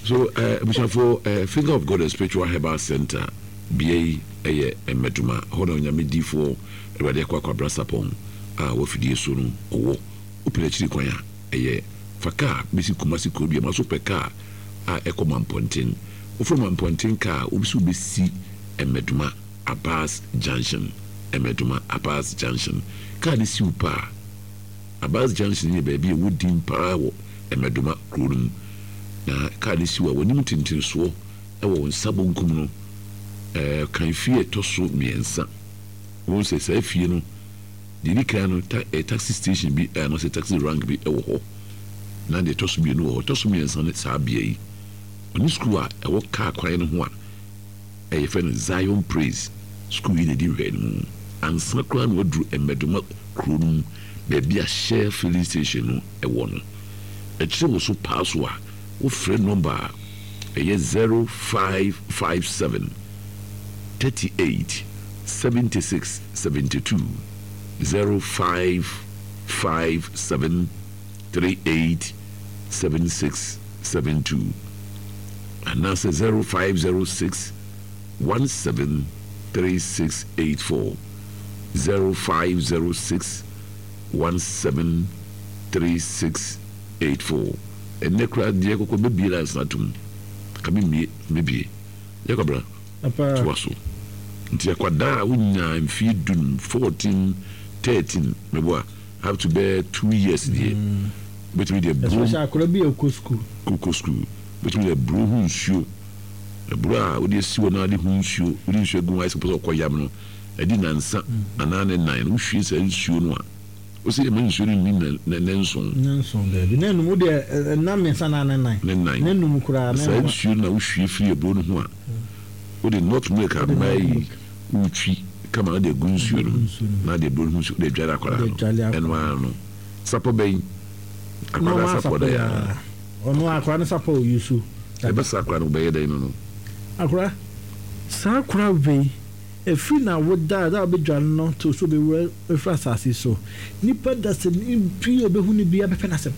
[SPEAKER 1] So, abusuafoɔ, Finger of God and Spiritual Herbal Center, bea yi ɛyɛ Mmɛdoma, hɔ na Onyame difoɔ Awurade Akua Kwabra Sarpong a wafidie so no ɔwɔ. Wopɛ n'akyiri kwan a, ɛyɛ fa kaa bɛsi Kumasi Kurodua ma so pɛ kaa a ɛkɔ Mampɔnten. Wofrɛ Mampɔnten kaa a, wobɛsi wobɛsi Mmɛdoma Abas Junction. Mmɛdoma Abas Junction. Kaa no si wo pɛ a, Abas Junction yɛ baabi a ɛwɔ din paa wɔ Mmɛdoma kuro no mu. Na kaa no si wo a, w'anim ntentensoɔ wɔ wo nsa bonkum no, kan fie a ɛtɔ so mmiɛnsa. Wobɛhu sɛ saa fie no, deɛ ɛdi kan no, ta, eh, taxi station bi anaasɛ taxi rank bi wɔ hɔ, na deɛ ɛtɔ so mmienu wɔ hɔ. Ɛtɔ so mmiɛnsa ne saa bea yi. Ɔne sukuu a ɛwɔ kaa kwan no ho a yɛfrɛ no Zion Praise Sukuu yi na ɛdi nhwɛanimu. Ansa koraa na waduru Mmɛdoma kuro no mu baabi a Shell filling station no wɔ no. Ɛkyerɛ wo so paa so a, wofrɛ nɔmba a ɛyɛ 0557 38 76 72, 0557 38 76 72, anaasɛ 0506 17 3684, 0506 17 3684. Ɛnnɛ koraa deɛ kɔkɔ mɛbie lines no atom. Ka memmie, mɛbie. Yɛ Kwabena, toa so. Nti akwadaa a wonyaa mfeɛ 15, 14, 13, meboa, up to bɛyɛ 2 years deɛ, wobɛtumi de aburo.
[SPEAKER 2] Especially akwadaa bi a ɔkɔ school.
[SPEAKER 1] Kɔ school. Wobɛtumi de aburo ho nsuo, aburo a wode asi hɔ na wode ho nsuo, wode nsuo agu ho ayɛ sɛ wopɛ sɛ ɔkɔ yam no, adi nansa anaa ne nan no, wohwie saa nsuo no a, wosɛ yɛma nsuo no nni ne nson.
[SPEAKER 2] Ne nson daabi. Ne num wode nna mmiɛnsa anaa ne nan.
[SPEAKER 1] Ne nan.
[SPEAKER 2] Ne num koraa.
[SPEAKER 1] Saa nsuo no na wohwie firi aburo no ho a, wode nutmeg a mmaa yi wotwi kama na de agu nsuo no mu na de aburo no ho nsuo de adware akwadaa no. Ɛno ara no. Sapɔ bɛn? Akwadaa sapɔ dɛ
[SPEAKER 2] a. Ɔno akwadaa no sapɔ oyi so.
[SPEAKER 1] Ɛbɛsa akwadaa no bɛyɛ dɛn no no?
[SPEAKER 2] Akwadaa, saa akwadaa wei, ɛfiri na woda da a wobɛdware no to so bɛwura ɛfiri asase so. Nipa da sɛ bi a ɔbɛhu no biara bɛpɛ n'asɛm.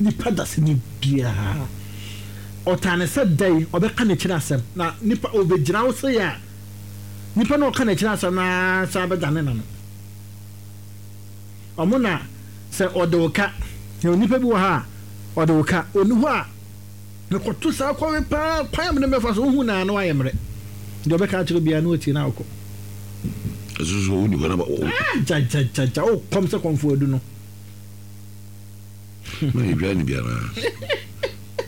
[SPEAKER 2] Nipa da sɛ ne biara. Ɔtaa ne sɛ dɛn ɔbɛka n'akyiri asɛm na nipa ɔbɛgyina wo sɛ yɛ a nipa na ɔka n'akyiri asɛm na saa bɛdane n'ano. Ɔmo na sɛ ɔde wo ka, na onipa bi wɔ ha a ɔde wo ka, ɔni hɔ a mekɔto saa kwan paa kwan a mene mɛfa so wohu na ano ayɛ mmerɛ. Deɛ ɔbɛka akyerɛ obiara na watie na wokɔ.
[SPEAKER 1] Ɛso so wonni hɔ na
[SPEAKER 2] Ah, gyagyagyaga wokɔm sɛ kɔmfo adu no.
[SPEAKER 1] Na yɛdwa ne biara.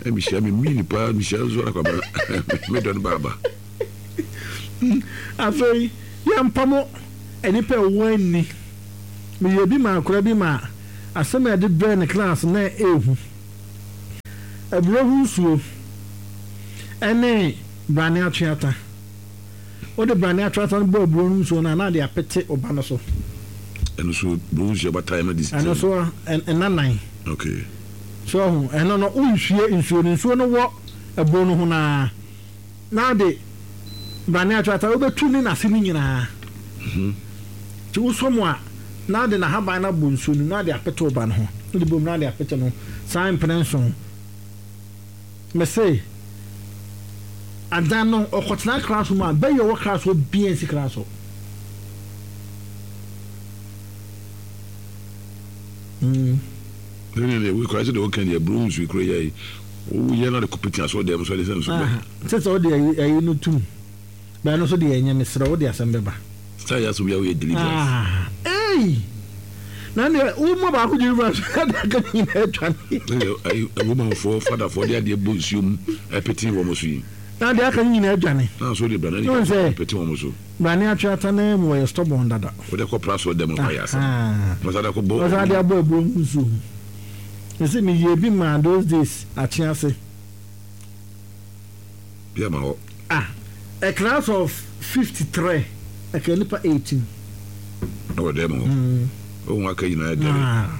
[SPEAKER 1] Mehyia me mini paa mehyia nso akwaba medɔ no baaba.
[SPEAKER 2] Afei yɛmpamo nnipa a ɛwɔ anni. Meyɛɛ bi maa akwadaa bi ma asɛm a yɛde brɛɛ no class na ɛyɛ Aburo ho nsuo ne brane atweata. Wode brane atweata no bɔ aburo no nsuo no a, na ade apete wo ba no so.
[SPEAKER 1] Ɛno nso aburo ho nsuo bata ɛma di.
[SPEAKER 2] Ɛno nso nna nan.
[SPEAKER 1] Okay.
[SPEAKER 2] So ɔho ɛno no wonhwie nsuo no, nsuo no wɔ aburo no ho no ara na ade brane atweata wobɛtu ne n'ase no nyinaa. Nti wosɔ mu a na ade n'ahaban no abɔ nsuo no mu na ade apete wo ba no ho. Wode bom na ade apete no saa mprɛ nson. Mese adan no ɔkɔtena class mu a bɛyɛ ɔwɔ class hɔ biaa nsi class hɔ.
[SPEAKER 1] Mm. Sɛnea deɛ wokura sɛ deɛ woka deɛ aburo nsuo kura yɛ yi woyɛ no de kɔpete asɔ dɛm so de sɛ nso bɛ.
[SPEAKER 2] Sɛ sɛ wode ayi no tum bɛn no so deɛ ɛnyɛ mesrɛ wode asɛm bɛba.
[SPEAKER 1] Star yɛ asɛ wia woyɛ deliverance.
[SPEAKER 2] Ah ei na deɛ wo ma baako deliverance na deɛ aka ne nyinaa atwa ne.
[SPEAKER 1] Ɛyɛ Romanfoɔ fadafoɔ de adeɛ bɔ nsuo mu ɛpete wɔn so yi.
[SPEAKER 2] Na deɛ aka ne nyinaa adwane.
[SPEAKER 1] Na nso de brane ne pete wɔn so.
[SPEAKER 2] Brane atweata no mu wɔyɛ stubborn dada.
[SPEAKER 1] Wode kɔ pra so dɛm kɔ ayɛ asɛm. Wɔsan de akɔ bɔ.
[SPEAKER 2] Wɔsan de abɔ aburo mu nsuo mu. Mese meyɛ bi maa those days akye ase.
[SPEAKER 1] Bi ama hɔ.
[SPEAKER 2] Ah a class of 53 ɛka nipa 18.
[SPEAKER 1] Ɛwɔ dɛm hɔ. Ohun aka nyinaa dɛm.
[SPEAKER 2] Ah.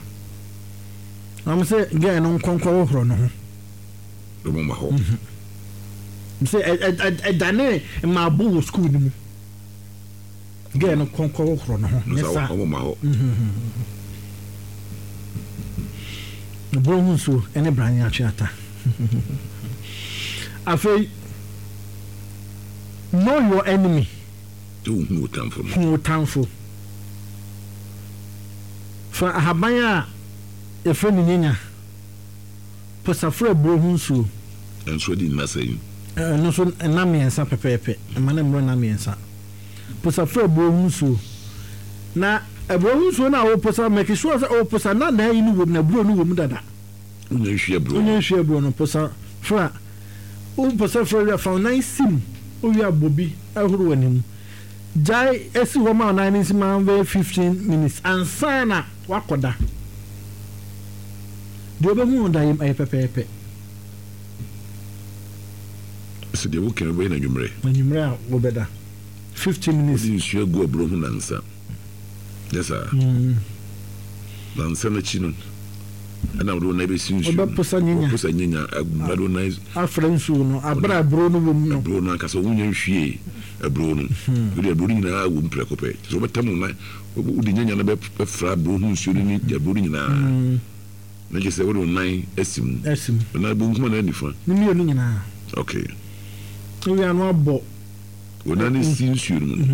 [SPEAKER 2] Wɔn sɛ girl no nkɔnkɔ hohoro ne ho.
[SPEAKER 1] Wɔn ma hɔ.
[SPEAKER 2] Sɛ ɛdane mmaabo wɔ sukuu no mu. Girl no kɔnkɔ hohoro ne ho. Ne sa.
[SPEAKER 1] Wɔn ma hɔ.
[SPEAKER 2] Buro ho nsuo ne brane atweata. Afei, know your enemy.
[SPEAKER 1] Hu wo tamfo no.
[SPEAKER 2] Hu wo tamfo. Fa ahaban a yɛfrɛ no nyanya, posafra aburo ho nsuo.
[SPEAKER 1] Ɛnso adi nna sɛn?
[SPEAKER 2] Ɛno nso nna mmiɛnsa pɛpɛɛpɛ. Mma no mmoro nna mmiɛnsa. Posafra aburo ho nsuo. Na aburo ho nsuo no a woposa, make sure sɛ woposa na n'ayi no wom, na aburo no wom dada.
[SPEAKER 1] Wonya nhwie aburo
[SPEAKER 2] no. Wonya nhwie aburo no, posa fra. Woposa fra wie a, fa wo nan si mu. Wowie a, bɔ bi horo w'anim. Gyae si hɔ ma wo nan no nsi ma bɛyɛ 15 minutes ansa na woakɔda. Deɛ wobɛhu wɔ daeɛ mu, ɛyɛ pɛpɛɛpɛ.
[SPEAKER 1] Sɛ deɛ woka yi, wobɛyɛ no anwummerɛ.
[SPEAKER 2] Anwummerɛ a wobɛda. 15 minutes.
[SPEAKER 1] Wode nsuo agu aburo ho nnansa. Nyɛ saa? Nnansa no akyi no, ɛna wode wo nan bɛsi nsuo no.
[SPEAKER 2] Wobɛposa nyanya.
[SPEAKER 1] Wobɛposa nyanya agu mu na wode wo nan.
[SPEAKER 2] Afra nsuo no, aberɛ a aburo no wɔ mu no.
[SPEAKER 1] Aburo no ankasa, wonya nhwiee aburo no. Wode aburo no nyinaa wɔ mu prɛko pɛ. Kyerɛ sɛ wobɛtam wo nan, wode nyanya no bɛfra aburo ho nsuo no ne aburo no nyinaa. Na kyerɛ sɛ wode wo nan asi mu.
[SPEAKER 2] Asi mu.
[SPEAKER 1] Wo nan benkum anaa nifa?
[SPEAKER 2] Ne mmienu nyinaa.
[SPEAKER 1] Okay.
[SPEAKER 2] Wowie a na wabɔ.
[SPEAKER 1] Wo nan no si nsuo no mu no,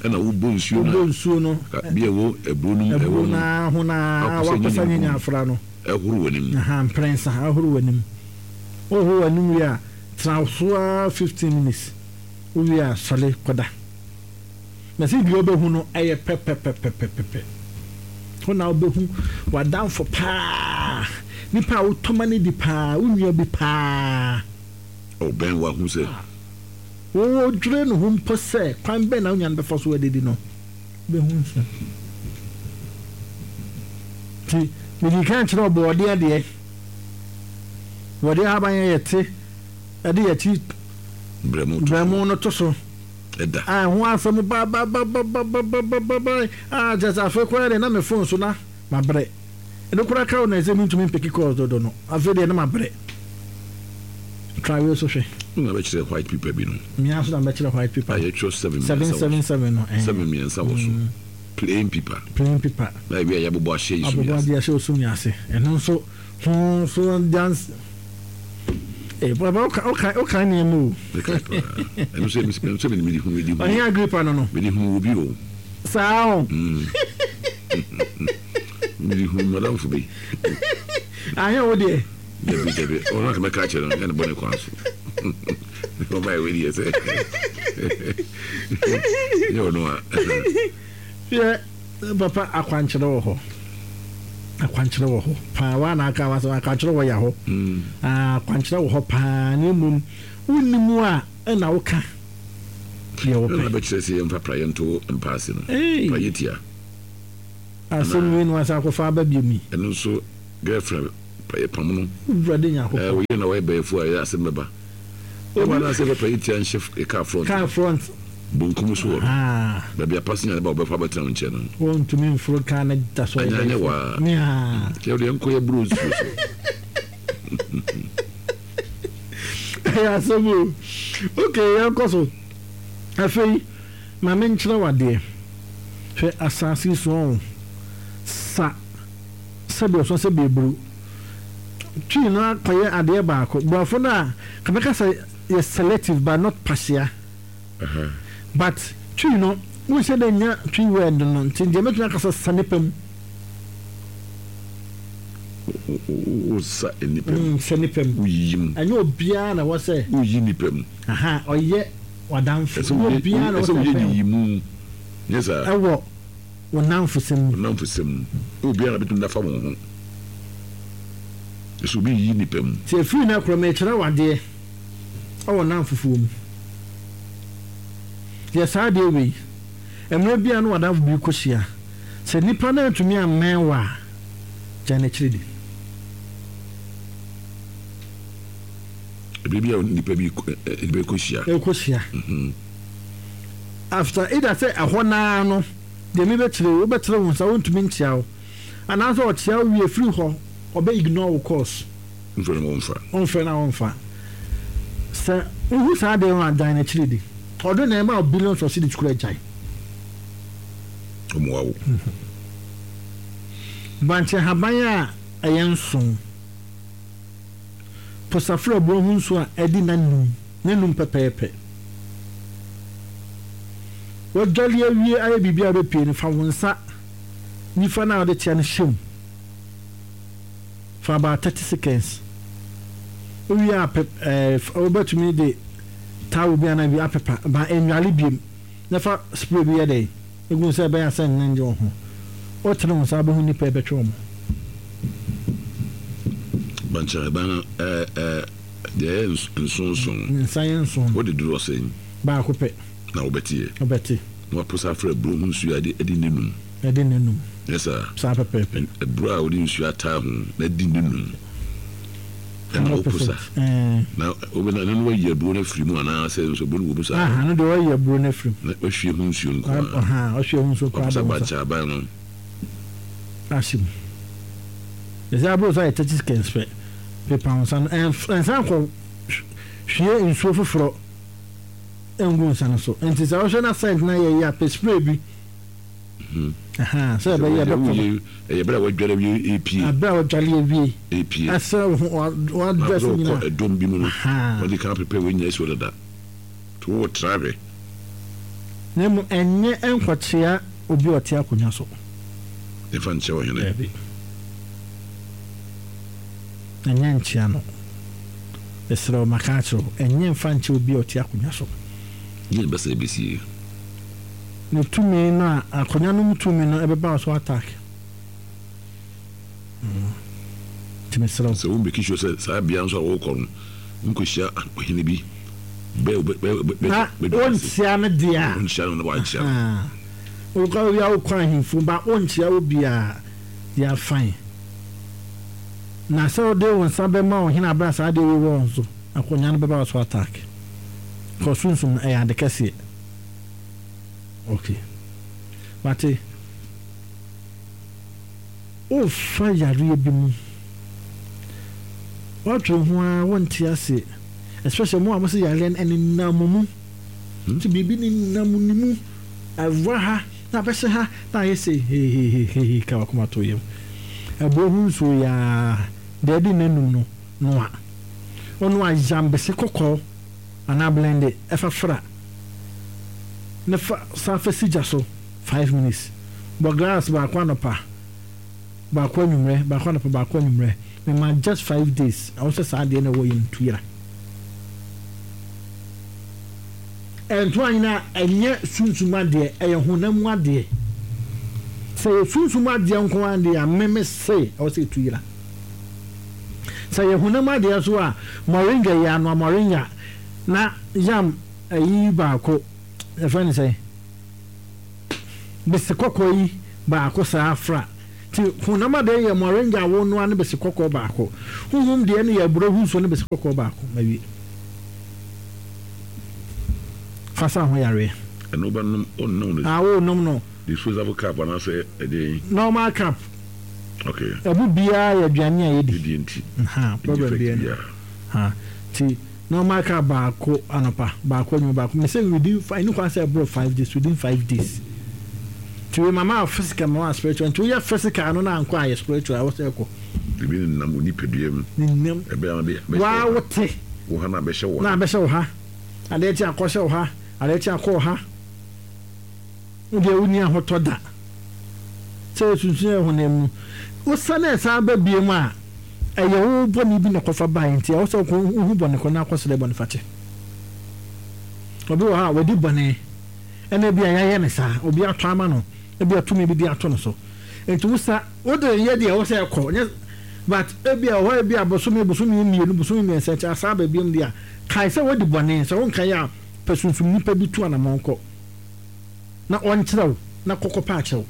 [SPEAKER 1] ɛna wobɔ nsuo no
[SPEAKER 2] a. Wobɔ nsuo no.
[SPEAKER 1] Bi a ɛwɔ aburo no mu.
[SPEAKER 2] Aburo no ara ho no ara wakɔsa nyanya afra no.
[SPEAKER 1] Ɛhoro w'anim.
[SPEAKER 2] Aha, mprɛnsa, ahoro w'anim. Wohoro w'anim wie a, tena so ara 15 minutes. Wowie a, sɔre kɔda. Na sɛ deɛ wobɛhu no ɛyɛ pɛpɛpɛpɛpɛpɛ. Hɔ na wobɛhu w'adamfo paa, nipa a wotɔ ma no di paa, wo nua bi paa.
[SPEAKER 1] Ɔbɛn wo ahu sɛ.
[SPEAKER 2] Wodwene ne ho mpo sɛ kwan bɛn na wo nua no bɛfa so adidi no, wobɛhu nso. Nti medii kan kyerɛw borɔdeɛ deɛ. Borɔdeɛ ahaban yɛ yɛte ɛde yɛkyi brɛmo no to so.
[SPEAKER 1] Ɛda.
[SPEAKER 2] A ɛho asɛm babababababababa a kyerɛ sɛ afei koraa deɛ na me phone so na mabrɛ. Ɛno koraa ka wo na ɛsɛ mentumi mpeke calls dodo no. Afei deɛ na mabrɛ. Try wei so hwɛ.
[SPEAKER 1] Wo na bɛkyerɛ white paper bi no.
[SPEAKER 2] Me ara nso na mɛkyerɛ white paper.
[SPEAKER 1] A yɛtwerɛ seven mmiɛnsa wɔ so.
[SPEAKER 2] Seven seven no.
[SPEAKER 1] Eh. Seven mmiɛnsa wɔ so. Plain paper.
[SPEAKER 2] Plain paper.
[SPEAKER 1] Na ebi a yɛabobɔ ahyɛ yi so
[SPEAKER 2] Abobɔ adeɛ ahyɛ osum ase. Ɛno nso ho nso dance. Eh, papa woka woka woka nneɛma o.
[SPEAKER 1] Mekae paa. Ɛno nso ɛno nso mede hu mede hu.
[SPEAKER 2] Ɔhene Agripa no no.
[SPEAKER 1] Mede hu obi o.
[SPEAKER 2] Saa o.
[SPEAKER 1] Mede hu madamfo bi.
[SPEAKER 2] Anyɛ wo deɛ.
[SPEAKER 1] Dabi dabi ɔno anka mɛka akyerɛ no nyɛ ne bɔne kwan so. Ɔma yɛ wei deɛ sɛ nyɛ ɔno a.
[SPEAKER 2] Yɛ papa akwankyerɛ wɔ hɔ. Akwankyerɛ wɔ hɔ paa waa na aka wasɛm akwankyerɛ wɔ ya hɔ. Akwankyerɛ wɔ hɔ paa na mmom wonni mu a ɛna woka. Deɛ wopɛ.
[SPEAKER 1] Ɛna bɛkyerɛ sɛ yɛmfa praeɛ nto mpa ase no. Praeɛ tia.
[SPEAKER 2] Asɛm wei na wasan akɔfa aba biom yi.
[SPEAKER 1] Ɛno nso girlfriend praeɛ pam no.
[SPEAKER 2] Awurade Nyankopɔn.
[SPEAKER 1] Ɛɛ wo yere na wayɛ bɛɛfo a ɛyɛ asɛm bɛba. Ɛwɔ anaasɛ yɛmfa praeɛ tia nhyɛ car front.
[SPEAKER 2] Car front.
[SPEAKER 1] Bonkum so hɔ no. Baabi a passenger no ba a wɔbɛfa abɛtena wo nkyɛn no.
[SPEAKER 2] Wɔntumi mforo car no da so.
[SPEAKER 1] Anyɛ anyɛ waa. Yɛ deɛ nkɔ yɛ buro nsuo so.
[SPEAKER 2] Ɛyɛ asɛm o. Okay, yɛnkɔ so. Afei, ma menkyerɛ wo adeɛ. Hwɛ asase yi so ɔn, sa sɛdeɛ ɔsɔ sɛ beeburu. Twi no akɔyɛ adeɛ baako. Borɔfo no a, ka bɛka sɛ yɛ selective but not partial. But Twi no, wonhyɛ da nnya Twi word no, nti deɛ mɛtumi aka sɛ sa nipa mu.
[SPEAKER 1] Wosa nipa mu.
[SPEAKER 2] Sa nipa mu.
[SPEAKER 1] Woyiyi mu.
[SPEAKER 2] Ɛnyɛ obiara na ɛwɔ sɛ.
[SPEAKER 1] Woyi nipa mu.
[SPEAKER 2] Aha, ɔyɛ w'adamfo.
[SPEAKER 1] Ɛnyɛ obiara na ɛwɔ sɛ ɔbɛn wo. Ɛsɛ woyɛ nyiyimu. Nyɛ saa.
[SPEAKER 2] Ɛwɔ wo nnamfosɛm mu.
[SPEAKER 1] Wo nnamfosɛm mu. Ɛnyɛ obiara na bɛtumi de afa wo ho. Ɛsɛ obi yiyi nipa mu.
[SPEAKER 2] Nti ɛfiri nnɛ korɔ merekyerɛ wo adeɛ. wɔ nnamfofoɔ mu. Yɛ saa adeɛ wei, Mmerɛ bi a ne w'adamfo bi rekɔhyia, sɛ nipa no antumi ammɛn wo a, gyae n'akyiri di.
[SPEAKER 1] Ɛberɛ bi a nipa bi rekɔhyia.
[SPEAKER 2] Rekɔhyia. After either sɛ ɛhɔ no ara no, deɛ mebɛkyerɛ wo, wobɛkyerɛ wo nsa, ɔntumi nkyea wo, anaasɛ ɔkyea wo wie firi hɔ, ɔbɛ ignore wo calls.
[SPEAKER 1] Womfrɛ no a ɔmfa.
[SPEAKER 2] Womfrɛ no a ɔmfa. Sɛ wohu saa adeɛ no a, gyae n'akyiri di. Ɔdo na ɛma wo billions of cedis koraa gyae.
[SPEAKER 1] Ɔmmoa wo.
[SPEAKER 2] Bankye ahaban a ɛyɛ nson. Po safra aburo ho nsuo a adi nnanum, nnanum pɛpɛɛpɛ. Woadwale awie ayɛ biribi a wobɛpue no, fa wo nsa nifa no a wode tea no hyɛ mu. For about 30 seconds. Wowie a pɛ ɛɛ wobɛtumi de towel bi anaa bi apepa ba nnwale biom na fa spray bi yɛ dɛn egu ho sɛ ɛbɛyɛ a sɛ nne ngye wo ho. Wotene wo nsa wobɛhu nnipa a ɛbɛtwe wɔn.
[SPEAKER 1] Bankyerɛban no ɛɛ ɛɛ deɛ ɛyɛ nsonson.
[SPEAKER 2] Ne nsa yɛ nson no.
[SPEAKER 1] Wode dodoɔ sɛn?
[SPEAKER 2] Baako pɛ.
[SPEAKER 1] Na wobɛteɛ.
[SPEAKER 2] Wobɛte.
[SPEAKER 1] Na waposa afra aburo ho nsuo a ɛde nnanum.
[SPEAKER 2] Ɛde nnanum.
[SPEAKER 1] Nyɛ saa?
[SPEAKER 2] Saa pɛpɛɛpɛ.
[SPEAKER 1] Aburo a wode nsuo ataa ho na adi nnanum. Ɛna woposa. Na wobɛna ɛno no wayi aburo no afiri mu anaasɛ nso aburo no wɔ mu saa?
[SPEAKER 2] Aha, no deɛ wayi aburo no afiri
[SPEAKER 1] mu. Na wahwie ho nsuo nko ara.
[SPEAKER 2] Aha, wahwie ho nsuo nko ara.
[SPEAKER 1] Waposa bankye aban no.
[SPEAKER 2] Ahyɛ mu. Ɛsɛ aburo so ayɛ 30 seconds pɛ. Pepa wo nsa no. Ɛnsan kɔ hwie nsuo foforɔ ngu nsa no so. Nti sɛ wohwɛ na scent no ayɛ yi a, pɛ spray bi. Sɛ ɛbɛyɛ ɛbɛkɔ no.
[SPEAKER 1] Ɛyɛ bere a wadware awie repue.
[SPEAKER 2] Bere a wadware awie.
[SPEAKER 1] Repue.
[SPEAKER 2] Ɛsrɛ wo ho wadrɛs nyinaa.
[SPEAKER 1] Na ɔkɔ ɛdɔm bi mu no. Wɔde kan prepare wɔn nyinaa si hɔ dada. To wɔ tra hwɛ.
[SPEAKER 2] Na mmom ɛnyɛ nkɔkyea obi a ɔte akonnwa so.
[SPEAKER 1] Ɛmfa nkyɛ ɔhene.
[SPEAKER 2] Daabi. Ɛnyɛ nkyea no. Mesrɛ wo, maka akyerɛ wo, ɛnyɛ mfa nkyɛ obi a ɔte akonnwa so.
[SPEAKER 1] Deɛn bɛsa ɛbɛsie?
[SPEAKER 2] Ne tumi no a akonnwa no mu tumi no ɛbɛba wo so attack. Nti mesrɛ wo.
[SPEAKER 1] Sɛ wo make sure sɛ saa bea nso a wokɔ no wonkɔhyia ɔhene bi bɛ bɛ bɛ bɛ
[SPEAKER 2] Na wonkyia no deɛ a.
[SPEAKER 1] Wonkyia no na wankyia
[SPEAKER 2] no. Wokɔ wia wokɔ ahemfo ba wonkyia wo biara they are fine. Na sɛ wode wo nsa bɛma ɔhene abere a saa adeɛ wei wɔ wo so akonnwa no bɛba wo so attack. Kɔ sunsum no ɛyɛ ade kɛseɛ. Ok mate. Wofa yareɛ bi mu woatwere ho ara wonte aseɛ especially mo a mose yareɛ no ɛnenam mo mu nti biribi nenam ne mu ɛwura ha na abɛhyɛ ha na ayɛ sei hehehehe ka wakoma to yam ɛboɔ ho nsuo yaa deɛ ɛde n'anum no noa ɔnoa yambese kɔkɔɔ anaa blende fa fra na fa san fa si gya so 5 minutes. Bɔ glass baako anɔpa, baako anwummerɛ, baako anɔpa, baako anwummerɛ. Mema just 5 days na wohwɛ saa adeɛ no ɛwɔ yɛn tu yera. Ɛnto anyina a ɛnyɛ sunsum adeɛ, ɛyɛ honam mu adeɛ. Sɛ ɛyɛ sunsum adeɛ nko ara deɛ a, me me se ɛwɔ sɛ ɛtu yera. Sɛ ɛyɛ honam adeɛ nso a, moringa yi anoa moringa na yam ayi baako, yɛfrɛ no sɛn, bese kɔkɔɔ yi baako saa fra. Nti honam adeɛ yɛ moringa a wonoa ne bese kɔkɔɔ baako. Honhom deɛ no yɛ aburo ho nsuo ne bese kɔkɔɔ baako. Mawie. Fa sa ho yareɛ.
[SPEAKER 1] Ɛno wobɛnom, wonnom no.
[SPEAKER 2] Ah, wonom no.
[SPEAKER 1] Disposable cup anaasɛ ɛdeɛn?
[SPEAKER 2] Normal cup.
[SPEAKER 1] Okay.
[SPEAKER 2] Ɛmu biara yɛ aduane a yɛdi.
[SPEAKER 1] Yɛdi nti.
[SPEAKER 2] Ha, problem biara ni. Ha, nti normal cup baako anɔpa, baako anwummerɛ, baako. Mese within, ɛni kwan sɛ ɛboro 5 days, within 5 days. Nti wei mama wo physical, mama wo spiritual. Nti woyɛ physical no na ankɔ a, yɛ spiritual, ɛwɔ sɛ ɛkɔ.
[SPEAKER 1] Ebi nenam wo nipadua mu.
[SPEAKER 2] Nenam.
[SPEAKER 1] Ɛbɛyɛ a bɛhyɛ wo
[SPEAKER 2] ha.
[SPEAKER 1] Waa
[SPEAKER 2] wote.
[SPEAKER 1] Wo ha na abɛhyɛ wo
[SPEAKER 2] ha. Na abɛhyɛ wo ha. Adeɛ kye akɔhyɛ wo ha, adeɛ kye akɔ wo ha. Wo deɛ wonni ahotɔ da. Sɛ yɛsunsum yɛn honam mu. Wosane a ɛsan ba biom a, ɛyɛ wo bɔne bi na ɛkɔfa baeɛ nti ɛwɔ sɛ wokɔ wohu bɔne ko na akɔsrɛ bɔnefakyɛ. Obi wɔ hɔ a wadi bɔne ɛna ebi a yɛayɛ no saa, obi atɔ ama no, ebi a tumi bi de ato no so. Nti wosa wode yɛ deɛ ɛwɔ sɛ ɛkɔ nyɛ but ebi a ɛwɔ hɔ ebi a bosome bosome mmienu bosome mmiɛnsa akyi asan aba biom deɛ a kae sɛ wadi bɔne sɛ wonkae a pɛ sunsum nipa bi tu anamɔn kɔ. na ɔnkyerɛ wo na kɔ kɔpɛ akyɛw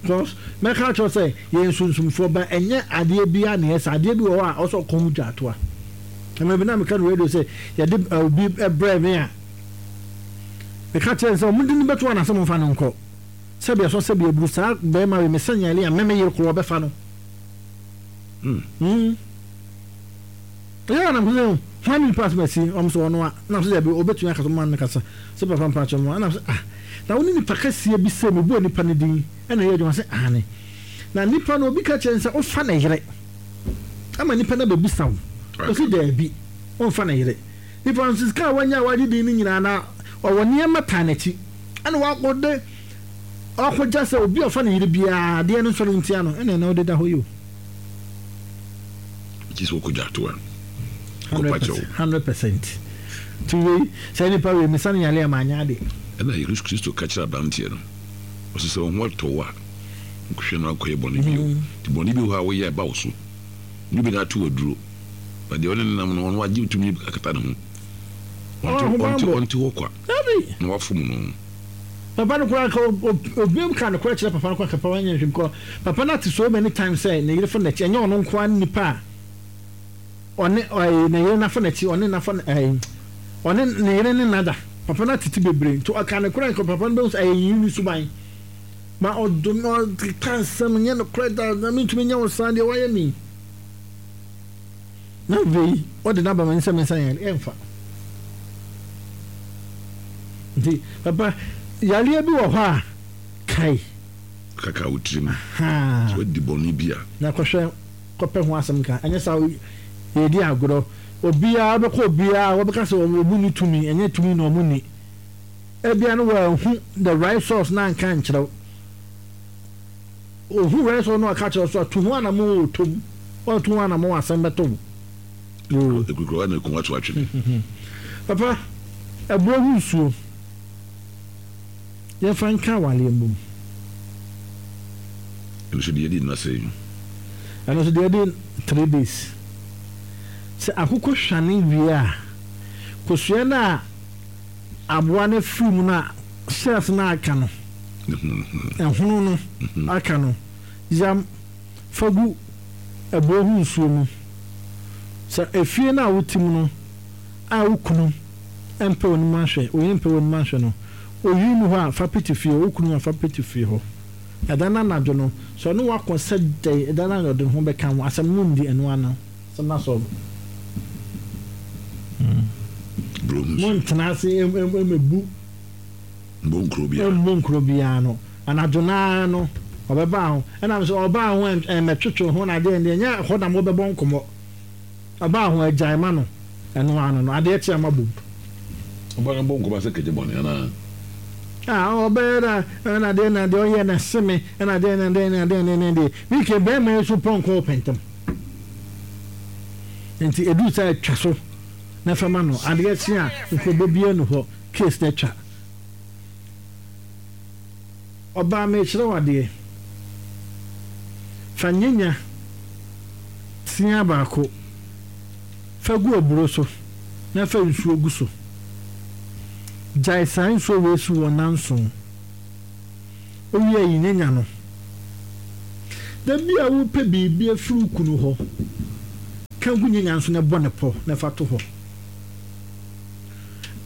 [SPEAKER 2] because mɛka akyerɛ wo sɛ yɛyɛ sunsumfoɔ ba ɛnyɛ adeɛ biara na yɛsɛ adeɛ bi wɔ hɔ a ɔsɛ ɔkɔ ho dwatoa ɛmɛ bi na meka no radio sɛ yɛde obi brɛ me a meka kyerɛ no sɛ ɔmo de no bɛto anasɛ mo mfa no nkɔ sɛbi ɛsɔ sɛbi aburu saa bɛrima wei mesɛ nyale a mɛmɛ yere korɔ ɔbɛfa no mm. Mm. Ɛyɛ a na mese hwan ne nipa asɛm asi? Wɔn sɛ ɔno a. Na mese dabi ɔbɛtumi akasa ɔma no kasa. Sɛ papa mpakyɛ mo. Ɛna mese ah na wo ne nipa kɛseɛ bi sɛ mebɔɔ nipa no din ɛna ɛyɛ adwuma sɛ aane. Na nipa no obi ka kyerɛ no sɛ wofa ne yere ama nipa no abɛbisa wo. Ɔse daabi ɔmfa ne yere. Nipa no nso sika a wanya a wagye din no nyinaa na ɔwɔ nneɛma taa n'akyi ɛna wakɔde wakɔgya sɛ obi a ɔfa ne yere biara adeɛ no nsɔre ntia no ɛna ɛna ɔde da hɔ yi o.
[SPEAKER 1] Gye sɛ wokɔgya to a, kɔpa kyɛw.
[SPEAKER 2] 100%. Nti wei, saa nipa wei, mesa no yare a manyɛ ade.
[SPEAKER 1] Ɛna Yesu Kristo ka kyerɛ abranteɛ no, ɔse sɛ wo ho atɔ wo a, nkɔhwɛ no ankɔyɛ bɔne bio. Nti bɔne bi wɔ hɔ a woyɛ a ɛba wo so. Nyɛ obi na ato wo aduro. Na deɛ ɔne no nam no, ɔno wagye tumi akata ne ho. Ɔnte, ɔnte hɔ kwa. Na wafom no.
[SPEAKER 2] Papa no koraa nka obiam ka nokorɛ kyerɛ papa no koraa nka papa no nyɛ nhwɛ because papa no ate so many times sɛ ne yere fa n'akyi ɛnyɛ ɔno nko ara ne nipa a ɔne ɛɛ ne yere nafa n'akyi ɔne nafa ɛɛ ɔne ne yere ne nada papa no atete bebree nti ɔka nokorɛ nka papa no bɛhu sɛ ɛyɛ yere ne suban ma ɔdo no ɔkeka nsɛm nyɛ nokorɛ da na mentumi nyɛ wo saa deɛ wayɛ me. Na afei ɔde n'aba ma nsɛ mensa yare ɛmfa. Nti papa yareɛ bi wɔ hɔ a kae.
[SPEAKER 1] Kaka wo tirim sɛ wadi bɔne bi a.
[SPEAKER 2] Na kɔhwɛ kɔpɛ ho asɛm ka ɛnyɛ saa yɛredi agorɔ obiara wobɛkɔ obiara wɔbɛka sɛ wɔn nni tumi ɛnyɛ tumi na wɔn nni ebia no wɔanhu the right source na anka ankyerɛ wo. Ohu wɛn sɛ ɔno ɔka kyerɛ wo so a, tu ho anamon o, tom. Woantu ho anamon a, asɛm bɛtɔ wo.
[SPEAKER 1] Yoo. Ekurukuruwa na ekum ato atwene.
[SPEAKER 2] Papa, aburo ho nsuo, yɛmfa nka awareɛ mmom.
[SPEAKER 1] Ɛno nso deɛ adi nna sɛn?
[SPEAKER 2] Ɛno nso deɛ adi 3 days. Sɛ akokɔ hwane wie a, kosua no a aboa no afiri mu no a shells no aka no, ɛhono no aka no, yam fa gu aburo ho nsuo mu. Sɛ efie no a wote mu no a wo kunu mpɛ w'anim ahwɛ, wo yere mpɛ w'anim ahwɛ no, oyi nni hɔ a, fa pete fie hɔ, wo kunu a, fa pete fie hɔ. Ɛda no anadwo no, sɛ ɔne wo ako sɛ dɛn, ɛda no anadwo ɔde ne ho bɛka wo, asɛm no nni ɛno ano. Asɛm no asɔre. Montena ase mmebu.
[SPEAKER 1] Mmɔ nkuro biara.
[SPEAKER 2] Mmɔ nkuro biara no. Anadwo no ara no, ɔbɛbaa ho. Ɛna sɛ ɔbaa ho ɛmmɛtwetwe ho na adeɛ deɛ ɛnyɛ hɔ na mobɛbɔ nkɔmmɔ. Ɔbaa ho agyae ma no. Ɛno ano no, adeɛ kye ama bom.
[SPEAKER 1] Ɔbaa no bɔ nkɔmmɔ sɛ kɛgye bɔne anaa?
[SPEAKER 2] Ah, ɔbɛyɛ na ɛna adeɛ na deɛ ɔyɛ na ɛse me ɛna adeɛ na adeɛ na adeɛ na adeɛ. Mike bɛrima yi so pɔnkɔ ɔpɛntɛm. Nti ɛduru sɛ atwa so na fa ma no. Adeɛ kye a nkurobɔ biara nni hɔ, case no atwa. Ɔbaa merekyerɛ wo adeɛ. Fa nyanya tea baako fa gu aburo so na fa nsuo gu so. Gyae saa nsuo wei so wɔ nnanson. Wowie a yi nyanya no. Da bi a worepɛ biribi afiri wo kunu hɔ, ka gu nyanya no so na bɔ no pɔ na fa to hɔ.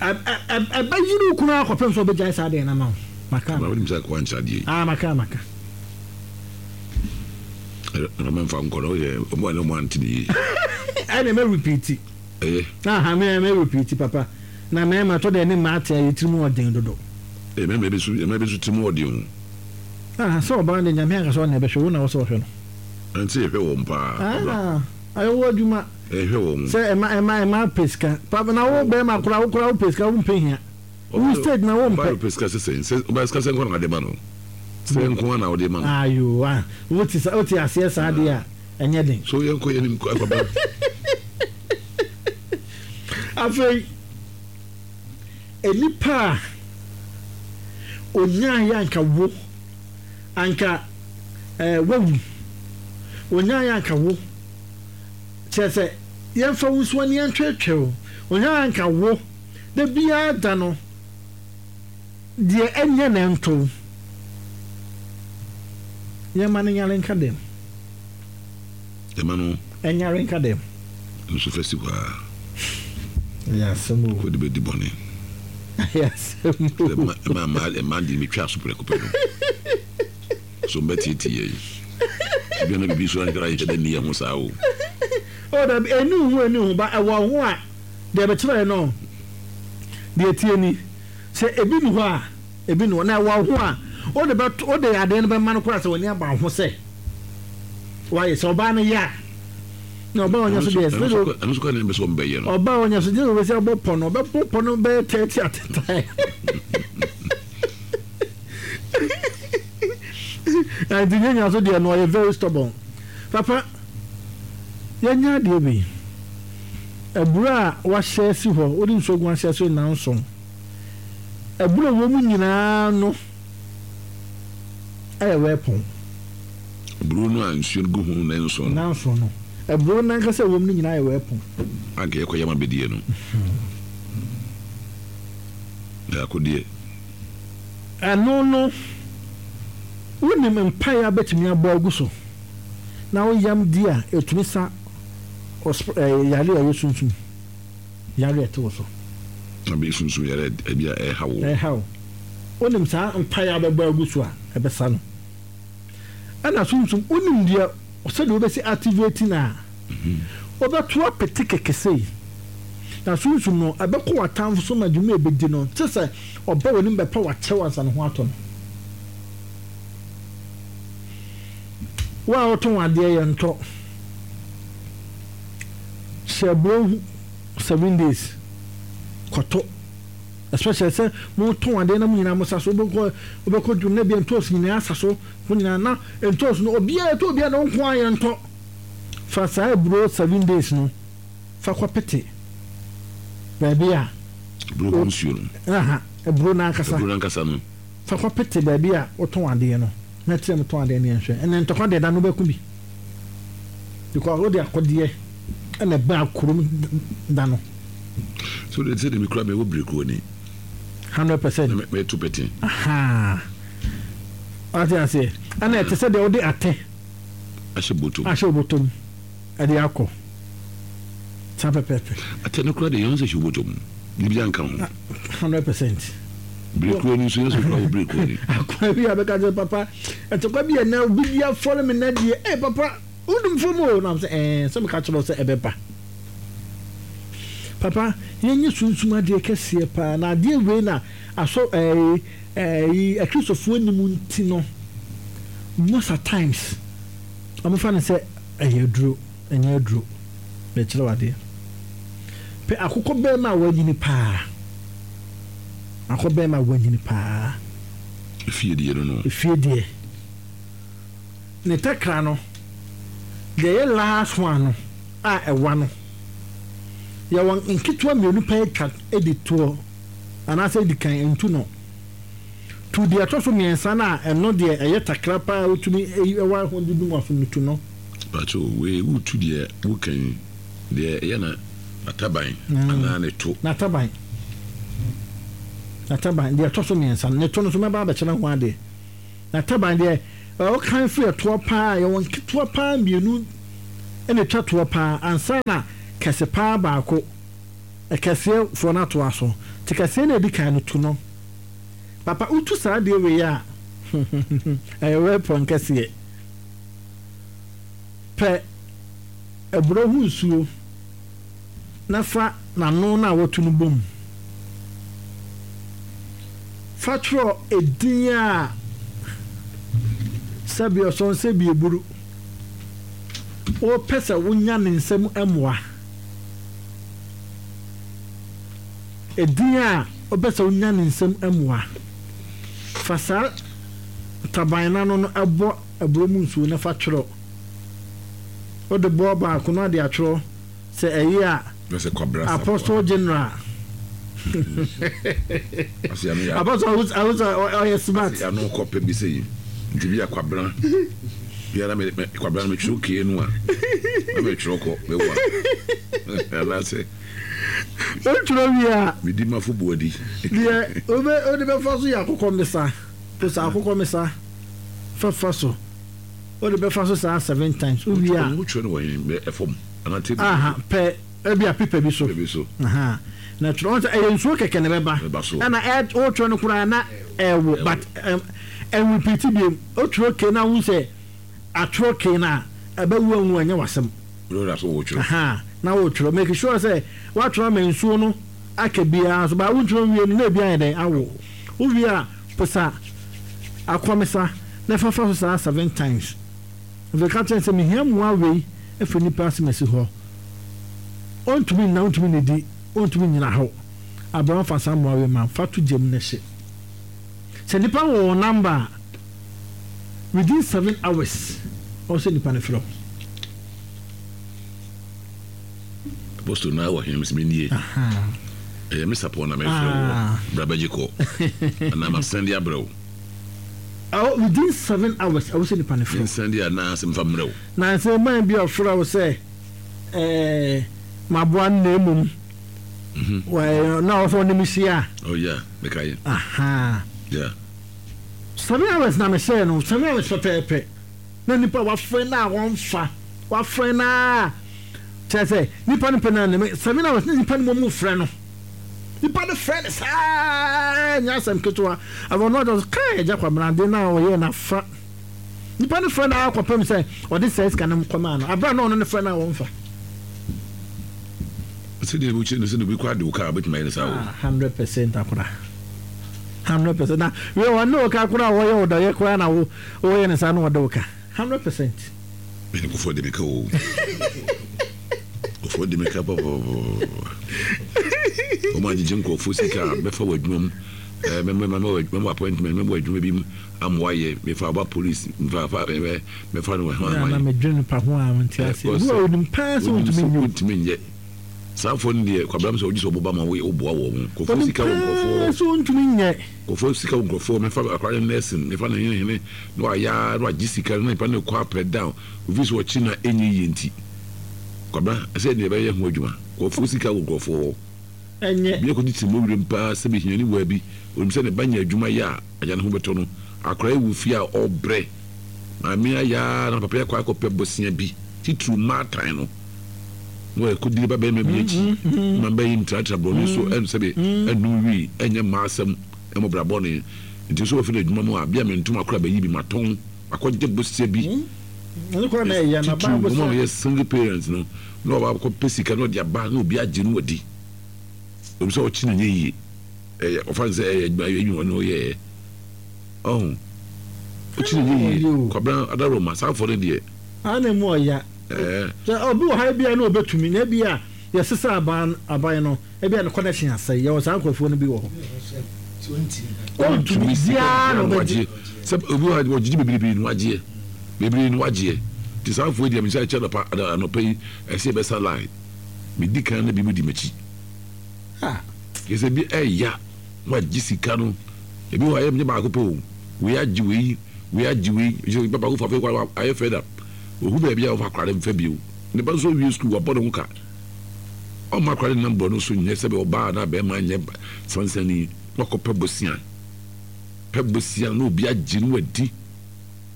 [SPEAKER 2] Ɛbɛyere wo kunu ara kɔpem sɛ ɔbɛgyae saa adeɛ no ama wo. Maka ama.
[SPEAKER 1] Wonim sɛ akoa nkyerɛ adeɛ yi.
[SPEAKER 2] Ah, maka maka.
[SPEAKER 1] Ɛna mɛmfa nkɔ no woyɛ ɔmo a ne ɔmo ante ne yie.
[SPEAKER 2] Ɛna mɛ repeat.
[SPEAKER 1] Ɛyɛ.
[SPEAKER 2] Aha mɛ mɛ repeat papa. Na mɛɛma tɔ deɛ ne mmaa te a yɛ tiri mu ɔden dodo.
[SPEAKER 1] Ee mɛɛma bi nso mɛɛma bi nso tiri mu ɔden o.
[SPEAKER 2] Aha sɛ ɔbaa deɛ Nyame ankasa ɔna ɛbɛhwɛ wo na wɔ sɛ ɔhwɛ no.
[SPEAKER 1] Ɛnti yɛhwɛ wɔn paa.
[SPEAKER 2] Ah ayɛ wo adwuma.
[SPEAKER 1] Ɛhwɛ wɔn.
[SPEAKER 2] Sɛ ɛma ɛma ɛma pɛ sika papa na wo bɛɛma koraa wo koraa wo pɛ sika wo mpɛ hia. Wo stage na wo mpɛ.
[SPEAKER 1] Ɔbaa pɛ sika sɛ sɛn sɛ ɔbaa sika sɛ nko na ɔde ma no sɛ nko na ɔde ma no.
[SPEAKER 2] Ayo ah wo te wo te aseɛ saa deɛ a ɛnyɛ den.
[SPEAKER 1] So yɛn kɔ yɛn nim kɔ akɔba.
[SPEAKER 2] Afei nnipa a onyaeɛ anka wo anka ɛɛ wawu onyaeɛ anka wo kyerɛ sɛ yɛmfa wo nsuo ne yɛntwetwe wo onyaeɛ anka wo da biara da no deɛ ɛnyɛ na ɛnto wo yɛma no nyare nka dɛm.
[SPEAKER 1] Ɛma no.
[SPEAKER 2] Ɛnyare nka dɛm.
[SPEAKER 1] Nso fa si hɔ ara.
[SPEAKER 2] Ɛyɛ asɛm o.
[SPEAKER 1] Wode bɛdi bɔne.
[SPEAKER 2] Ɛyɛ asɛm o.
[SPEAKER 1] Ɛma mmaa mmaa de metwa aso prɛko pɛ no. So mbɛteetee yɛn. Ebi na biribi so anhwɛ ayɛ dɛ nni yɛn ho saa o.
[SPEAKER 2] O dabi, ɛni wo ho ɛni wo ho ba ɛwɔ ho a deɛ bɛkyerɛ no deɛ tie ni sɛ ebi ni hɔ a. Ebi no, na ɛwɔ ho a, wode bɛto, wode adeɛ no bɛma no koraa sɛ w'ani aba wo ho sɛ wayɛ. Sɛ ɔbaa no yɛ a, na ɔbaa ɔnya so deɛ,
[SPEAKER 1] ɛno nso kora na ɛbɛ sɛ ɔmbɛyɛ no.
[SPEAKER 2] Ɔbaa ɔnya so deɛ ɔbɛsi abɔ pɔ no, ɔbɛbɔ pɔ no bɛyɛ 30 at a time. Nti nyanya so deɛ no ɔyɛ very stubborn. Papa, yɛnyɛ adeɛ bi. Aburo a wahyɛ asi hɔ, wode nsuo gu ahyɛ so nnanson. Abura a ɛwɔ mu nyinaa no yɛ wɛpɔn.
[SPEAKER 1] Aburo no a nsuo no gu ho nnanson
[SPEAKER 2] no. Nnanson no. Aburo no ankasa a ɛwɔ mu no nyinaa yɛ wɛpɔn.
[SPEAKER 1] Anka yɛkɔ yam abɛdie no. Yɛ akodeɛ.
[SPEAKER 2] Ɛno no, wonim mpaeɛ a bɛtumi abɔ agu so na wo yam di a, ɛtumi sa yareɛ a ɛyɛ sunsum. Yare a ɛte wo so.
[SPEAKER 1] Na bɛyɛ sunsum yare a ebi a ɛreha wo.
[SPEAKER 2] Ɛreha wo. Wonim saa mpaeɛ a wobɛbɔ agu so a, ɛbɛsa no. Ɛna sunsum, wonim deɛ sɛdeɛ wobɛsi activate no a, wobɛto apete kɛkɛ sei. Na sunsum no, ɛbɛkɔ w'atamfo so ma dwuma a ɛbɛdi no, te sɛ ɔba w'anim bɛpɛ w'akyɛw ansa ne ho atɔ no. Wo a wotɔn adeɛ, yɛntɔ. Hyɛ aburo ho 7 days kɔtɔ, especially sɛ motɔn adeɛ na mo nyinaa mo sa so. Wobɛkɔ wobɛkɔ dwom na bia ntoosi nyinaa asa so mo nyinaa na ntoosi no obiara ɛtɔ obiara na wo nko ara yɛntɔ. Fa saa aburo 7 days no fa kɔ pete baabi a
[SPEAKER 1] Aburo ho nsuo no.
[SPEAKER 2] Aha, aburo no ankasa.
[SPEAKER 1] Aburo no ankasa no.
[SPEAKER 2] Fa kɔ pete baabi a wotɔn adeɛ no na kyerɛ mo tɔn adeɛ no yɛnhwɛ. Ɛnɛ ntɔkwa deɛ da no wobɛko bi because wode akɔdeɛ ɛna ɛbaa kurom da no.
[SPEAKER 1] So de sɛ de mi kura mi wɔ birikuo ni.
[SPEAKER 2] 100%.
[SPEAKER 1] Mɛ mɛ tu pete.
[SPEAKER 2] Aha. Wate aseɛ. Ɛna ɛte sɛ deɛ wode atɛ.
[SPEAKER 1] Ahyɛ bɔtɔm.
[SPEAKER 2] Ahyɛ bɔtɔm ɛde akɔ. Saa pɛpɛɛpɛ.
[SPEAKER 1] Atɛ no kura de yɛn sɛ hyɛ bɔtɔm. Bibi anka ho.
[SPEAKER 2] 100%.
[SPEAKER 1] Birikuo ni nso yɛn sɛ kura wɔ birikuo ni.
[SPEAKER 2] Akwa bi a bɛka sɛ papa ɛtɔkwa bi yɛ na obi bi afɔre mi na deɛ ee papa wodum fam o na sɛ ɛɛ sɛ meka kyerɛ sɛ ɛbɛba. Papa, yɛnyɛ sunsum adeɛ kɛseɛ paa na adeɛ wei na asɔ ɛɛ ɛɛ akristofoɔ nim nti no, most at times wɔfa no sɛ ɛyɛ aduro. Ɛnyɛ aduro. Mekyerɛ wo adeɛ. Pɛ akokɔ bɛrima a wanyini paa. Akokɔ bɛrima a wanyini paa.
[SPEAKER 1] Efie deɛ no no.
[SPEAKER 2] Efie deɛ. Ne takra no, deɛ ɛyɛ last one no a ɛwa no, yɛwɔ nketewa mmienu pɛ atwa di toɔ anaasɛ di kan ntu no. Tu deɛ ɛtɔ so mmiɛnsa no a ɛno deɛ ɛyɛ takra paa a wotumi wa ho de dum w'aso no tu no.
[SPEAKER 1] Pacho, wei wotu deɛ woka yi, deɛ ɛyɛ na n'ataban anaa ne to?
[SPEAKER 2] N'ataban. N'ataban deɛ ɛtɔ so mmiɛnsa no, ne to no nso mɛba abɛkyerɛ ho adeɛ. N'ataban deɛ ɔkan firi ɛtoɔ paa, yɛwɔ nketewa paa mmienu na ɛtwa toɔ paa ansa na kɛse paa baako, ɛkɛseɛ foɔ no atoa so. Nti kɛseɛ no a ɛdi kan no, tu no. Papa wotu saa adeɛ wei a, ɛyɛ weapon kɛseɛ. Pɛ aburo ho nsuo na fa n'ano no a watu no bom. Fa twerɛ edin a sɛbi ɔsɔn sɛbi eburu wopɛ sɛ wonya ne nsam mmoa. Edin a wopɛ sɛ wonya ne nsam mmoa. Fa saa taban no ano no bɔ aburo mu nsuo na fa twerɛ. Wode bɔ baako na wode atwerɛ sɛ ɛyɛ a Apostle General. Apostle awusa ɔyɛ smart.
[SPEAKER 1] Ano kɔ pɛ bi sɛ yi nti bi a kwabena bi a na me kwabena me twerɛ kee no a na me twerɛ kɔ me wa anaasɛ.
[SPEAKER 2] Wotwerɛ wie a.
[SPEAKER 1] Medi mafo buadi.
[SPEAKER 2] Deɛ wode bɛfa so yɛ akokɔ mmesa. Posa akokɔ mmesa fɛfa so. Wode bɛfa so saa seven times. Wowie a.
[SPEAKER 1] Wotwerɛ no wɔ he? Ɛfam anaa table?
[SPEAKER 2] Aha, pɛ ebi a paper bi so.
[SPEAKER 1] Paper bi so.
[SPEAKER 2] Aha. Na twerɛ, wɔn sɛ ɛyɛ nsuo kɛkɛ na ɛbɛba.
[SPEAKER 1] Ɛbɛba so.
[SPEAKER 2] Ɛna ɛ wotwerɛ no koraa na ɛwo but ɛnrepeat bio. Wotwerɛ kei na wohu sɛ atwerɛ kei no a, ɛbɛwo anwu ɛnyɛ w'asɛm.
[SPEAKER 1] Wode so wotwerɛ.
[SPEAKER 2] Aha, na wotwerɛ. Make sure sɛ woatwerɛ ama nsuo no aka biara so. But wontwerɛ nwie no na ebi ayɛ dɛn awo. Wowie a, Posa akɔmisa na fa fa so saa seven times. Afei ka kyerɛ no sɛ, Mehia mmoa wei afiri nnipa asemasi hɔ. Ɔntumi nna, ɔntumi nnidi, ɔntumi nnyina hɔ. Abraham fa saa mmoa wei ma, fa to gya mu na hye. Sɛ nnipa no wɔ wɔn number a, within 7 hours, ɔwɔ sɛ nnipa no frɛ wo.
[SPEAKER 1] Apostle na wɔ he? Mese menie. Ɛyɛ me sapɔn na mefrɛ woɔ. Bra bɛgye kɔ. Anaa masɛnde abrɛ wo.
[SPEAKER 2] Oh, within 7 hours, ɛwɔ sɛ nipa no frɛ wo.
[SPEAKER 1] Mensɛnde anaa sɛ mfa mmerɛ wo.
[SPEAKER 2] Na sɛ man bi a ɔfrɛ wo sɛ ɛɛ maboa no na mmom na ɔwɔ sɛ ɔne me hyia a.
[SPEAKER 1] Oh yeah, mekae.
[SPEAKER 2] Aha.
[SPEAKER 1] Yeah.
[SPEAKER 2] 7 hours na mehyɛɛ no, 7 hours pɛpɛɛpɛ. Na nipa wafrɛ no a wɔmfa, wafrɛ no a kyerɛ sɛ nipa no pɛ no ne 7 hours na nipa no mmom frɛ no. Nipa no frɛ no saa nyɛ asɛm ketewa. Afei ɔno ɔde kaa agya Kwabena ade no a ɔyɛɛ no afa. Nipa no frɛ no ara kɔpem sɛ ɔde saa sika no kɔmaa no. Abere a na ɔno no frɛ no a wɔmfa.
[SPEAKER 1] Sɛdeɛ wokyerɛ no sɛ na obi kɔ ade wo kaa wobɛtumi ayɛ no saa o.
[SPEAKER 2] 100% akora. 100% na wei ɔne wo ka koraa wɔyɛ wo dɔyɛ koraa na wo woyɛ no saa na ɔde wo ka. 100%.
[SPEAKER 1] Mene nkurɔfoɔ de me ka o. Nkurɔfoɔ de me ka papapapa. Wɔn agyegye nkurɔfoɔ sika a mɛfa wɔ adwuma mu. Mɛma appointment, mɛma adwuma bi mu ama wayɛ. Mefa aba police, mfa fa mɛfa no wɔ hwan
[SPEAKER 2] hwan. Na medwene nipa ho a mente ase. Obi wɔ onim paa sɛ ontumi nyɛ.
[SPEAKER 1] Ontumi nyɛ. Saa afɔ no deɛ Kwabena sɛ wogye sɛ ɔboba ma woboa wɔn. Nkurɔfoɔ sika wɔ nkurɔfoɔ.
[SPEAKER 2] Sɛ ontumi nyɛ.
[SPEAKER 1] Nkurɔfoɔ sika wɔ nkurɔfoɔ mɛfa akwadaa no nursing mɛfa no hene hene na wayɛ ara na wagye sika no na nipa no rekɔ apɛ down ofi so ɔkye na ɛnyɛ yie nti Kwabena ɛsɛ deɛ ɛbɛyɛ ho adwuma nkurɔfoɔ sika wɔ nkurɔfoɔ hɔ.
[SPEAKER 2] Ɛnyɛ.
[SPEAKER 1] Obi akɔdi tiri mu werem paa sɛ mehiani waa bi onim sɛ ne ba nya adwuma yɛ a agya ne ho bɛtɔ no akwadaa yi wɔ fie a ɔbrɛ maame ayɛ ara na papa yi akɔ akɔpɛ bosea bi titiriw mmaatan no na wakɔdi ne ba barima bi akyi ma mba yi ntratra borɔno so ɛnsɛbe ɛnum wii ɛnyɛ mmaa asɛm ɛmɔ bra bɔne nti nso wɔfi no adwuma mu a bia me ntoma kora bɛyi bi matɔn akɔgye bosea bi titiriw wɔn a wɔyɛ single parents no na wɔba akɔpɛ sika na ɔde aba na obi agye no wadi obi sɛ ɔkye no nyɛ yie ɛyɛ ɔfa no sɛ ɛyɛ adwuma ɛyɛ adwuma na ɔyɛɛ ɔho ɔkye no nyɛ yie Kwabena Adaroma saa afɔ no deɛ.
[SPEAKER 2] Ana mu ɔya. Sɛ obi wɔ ha ebia na obetumi na ebia yɛsesa aban aban no ebia ne connection asɛe yɛwɔ saa nkurɔfoɔ no bi wɔ hɔ.
[SPEAKER 1] Ɔntumi biara na ɔbɛgye. Sɛ obi wɔ ha ɔgyegye bebrebe na wagyeɛ bebree na wagyeɛ nti saa afoɔ yi deɛ mehyɛ kyɛ anɔpa anɔpa yi ɛsɛ yɛbɛsa line medi kan na bi mu di m'akyi. Kyerɛ sɛ bi ɛya na wagye sika no ebi wɔ hɔ a ɛyɛ baako pɛ o wei agye wei wei agye wei kyerɛ sɛ baako fa afei kɔ ayɛ fed up. Ohu baabi a ɔmfa akwadaa no mfa bio. Ne ba nso awie sukuu, wabɔ ne ho ka. Ɔmma akwadaa no nnam borɔno so nyɛ sɛdeɛ ɔbaa anaa barima nyɛ sansani. Na wakɔpɛ bosea. Pɛ bosea na obi agye no wadi.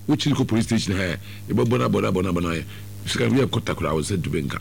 [SPEAKER 1] Wokyiri kɔ police station ha ɛ, yɛbɛbɔ no abɔ no abɔ no abɔ no ayɛ. Sika no yɛ kɔta koraa wo nsa ntumi nka.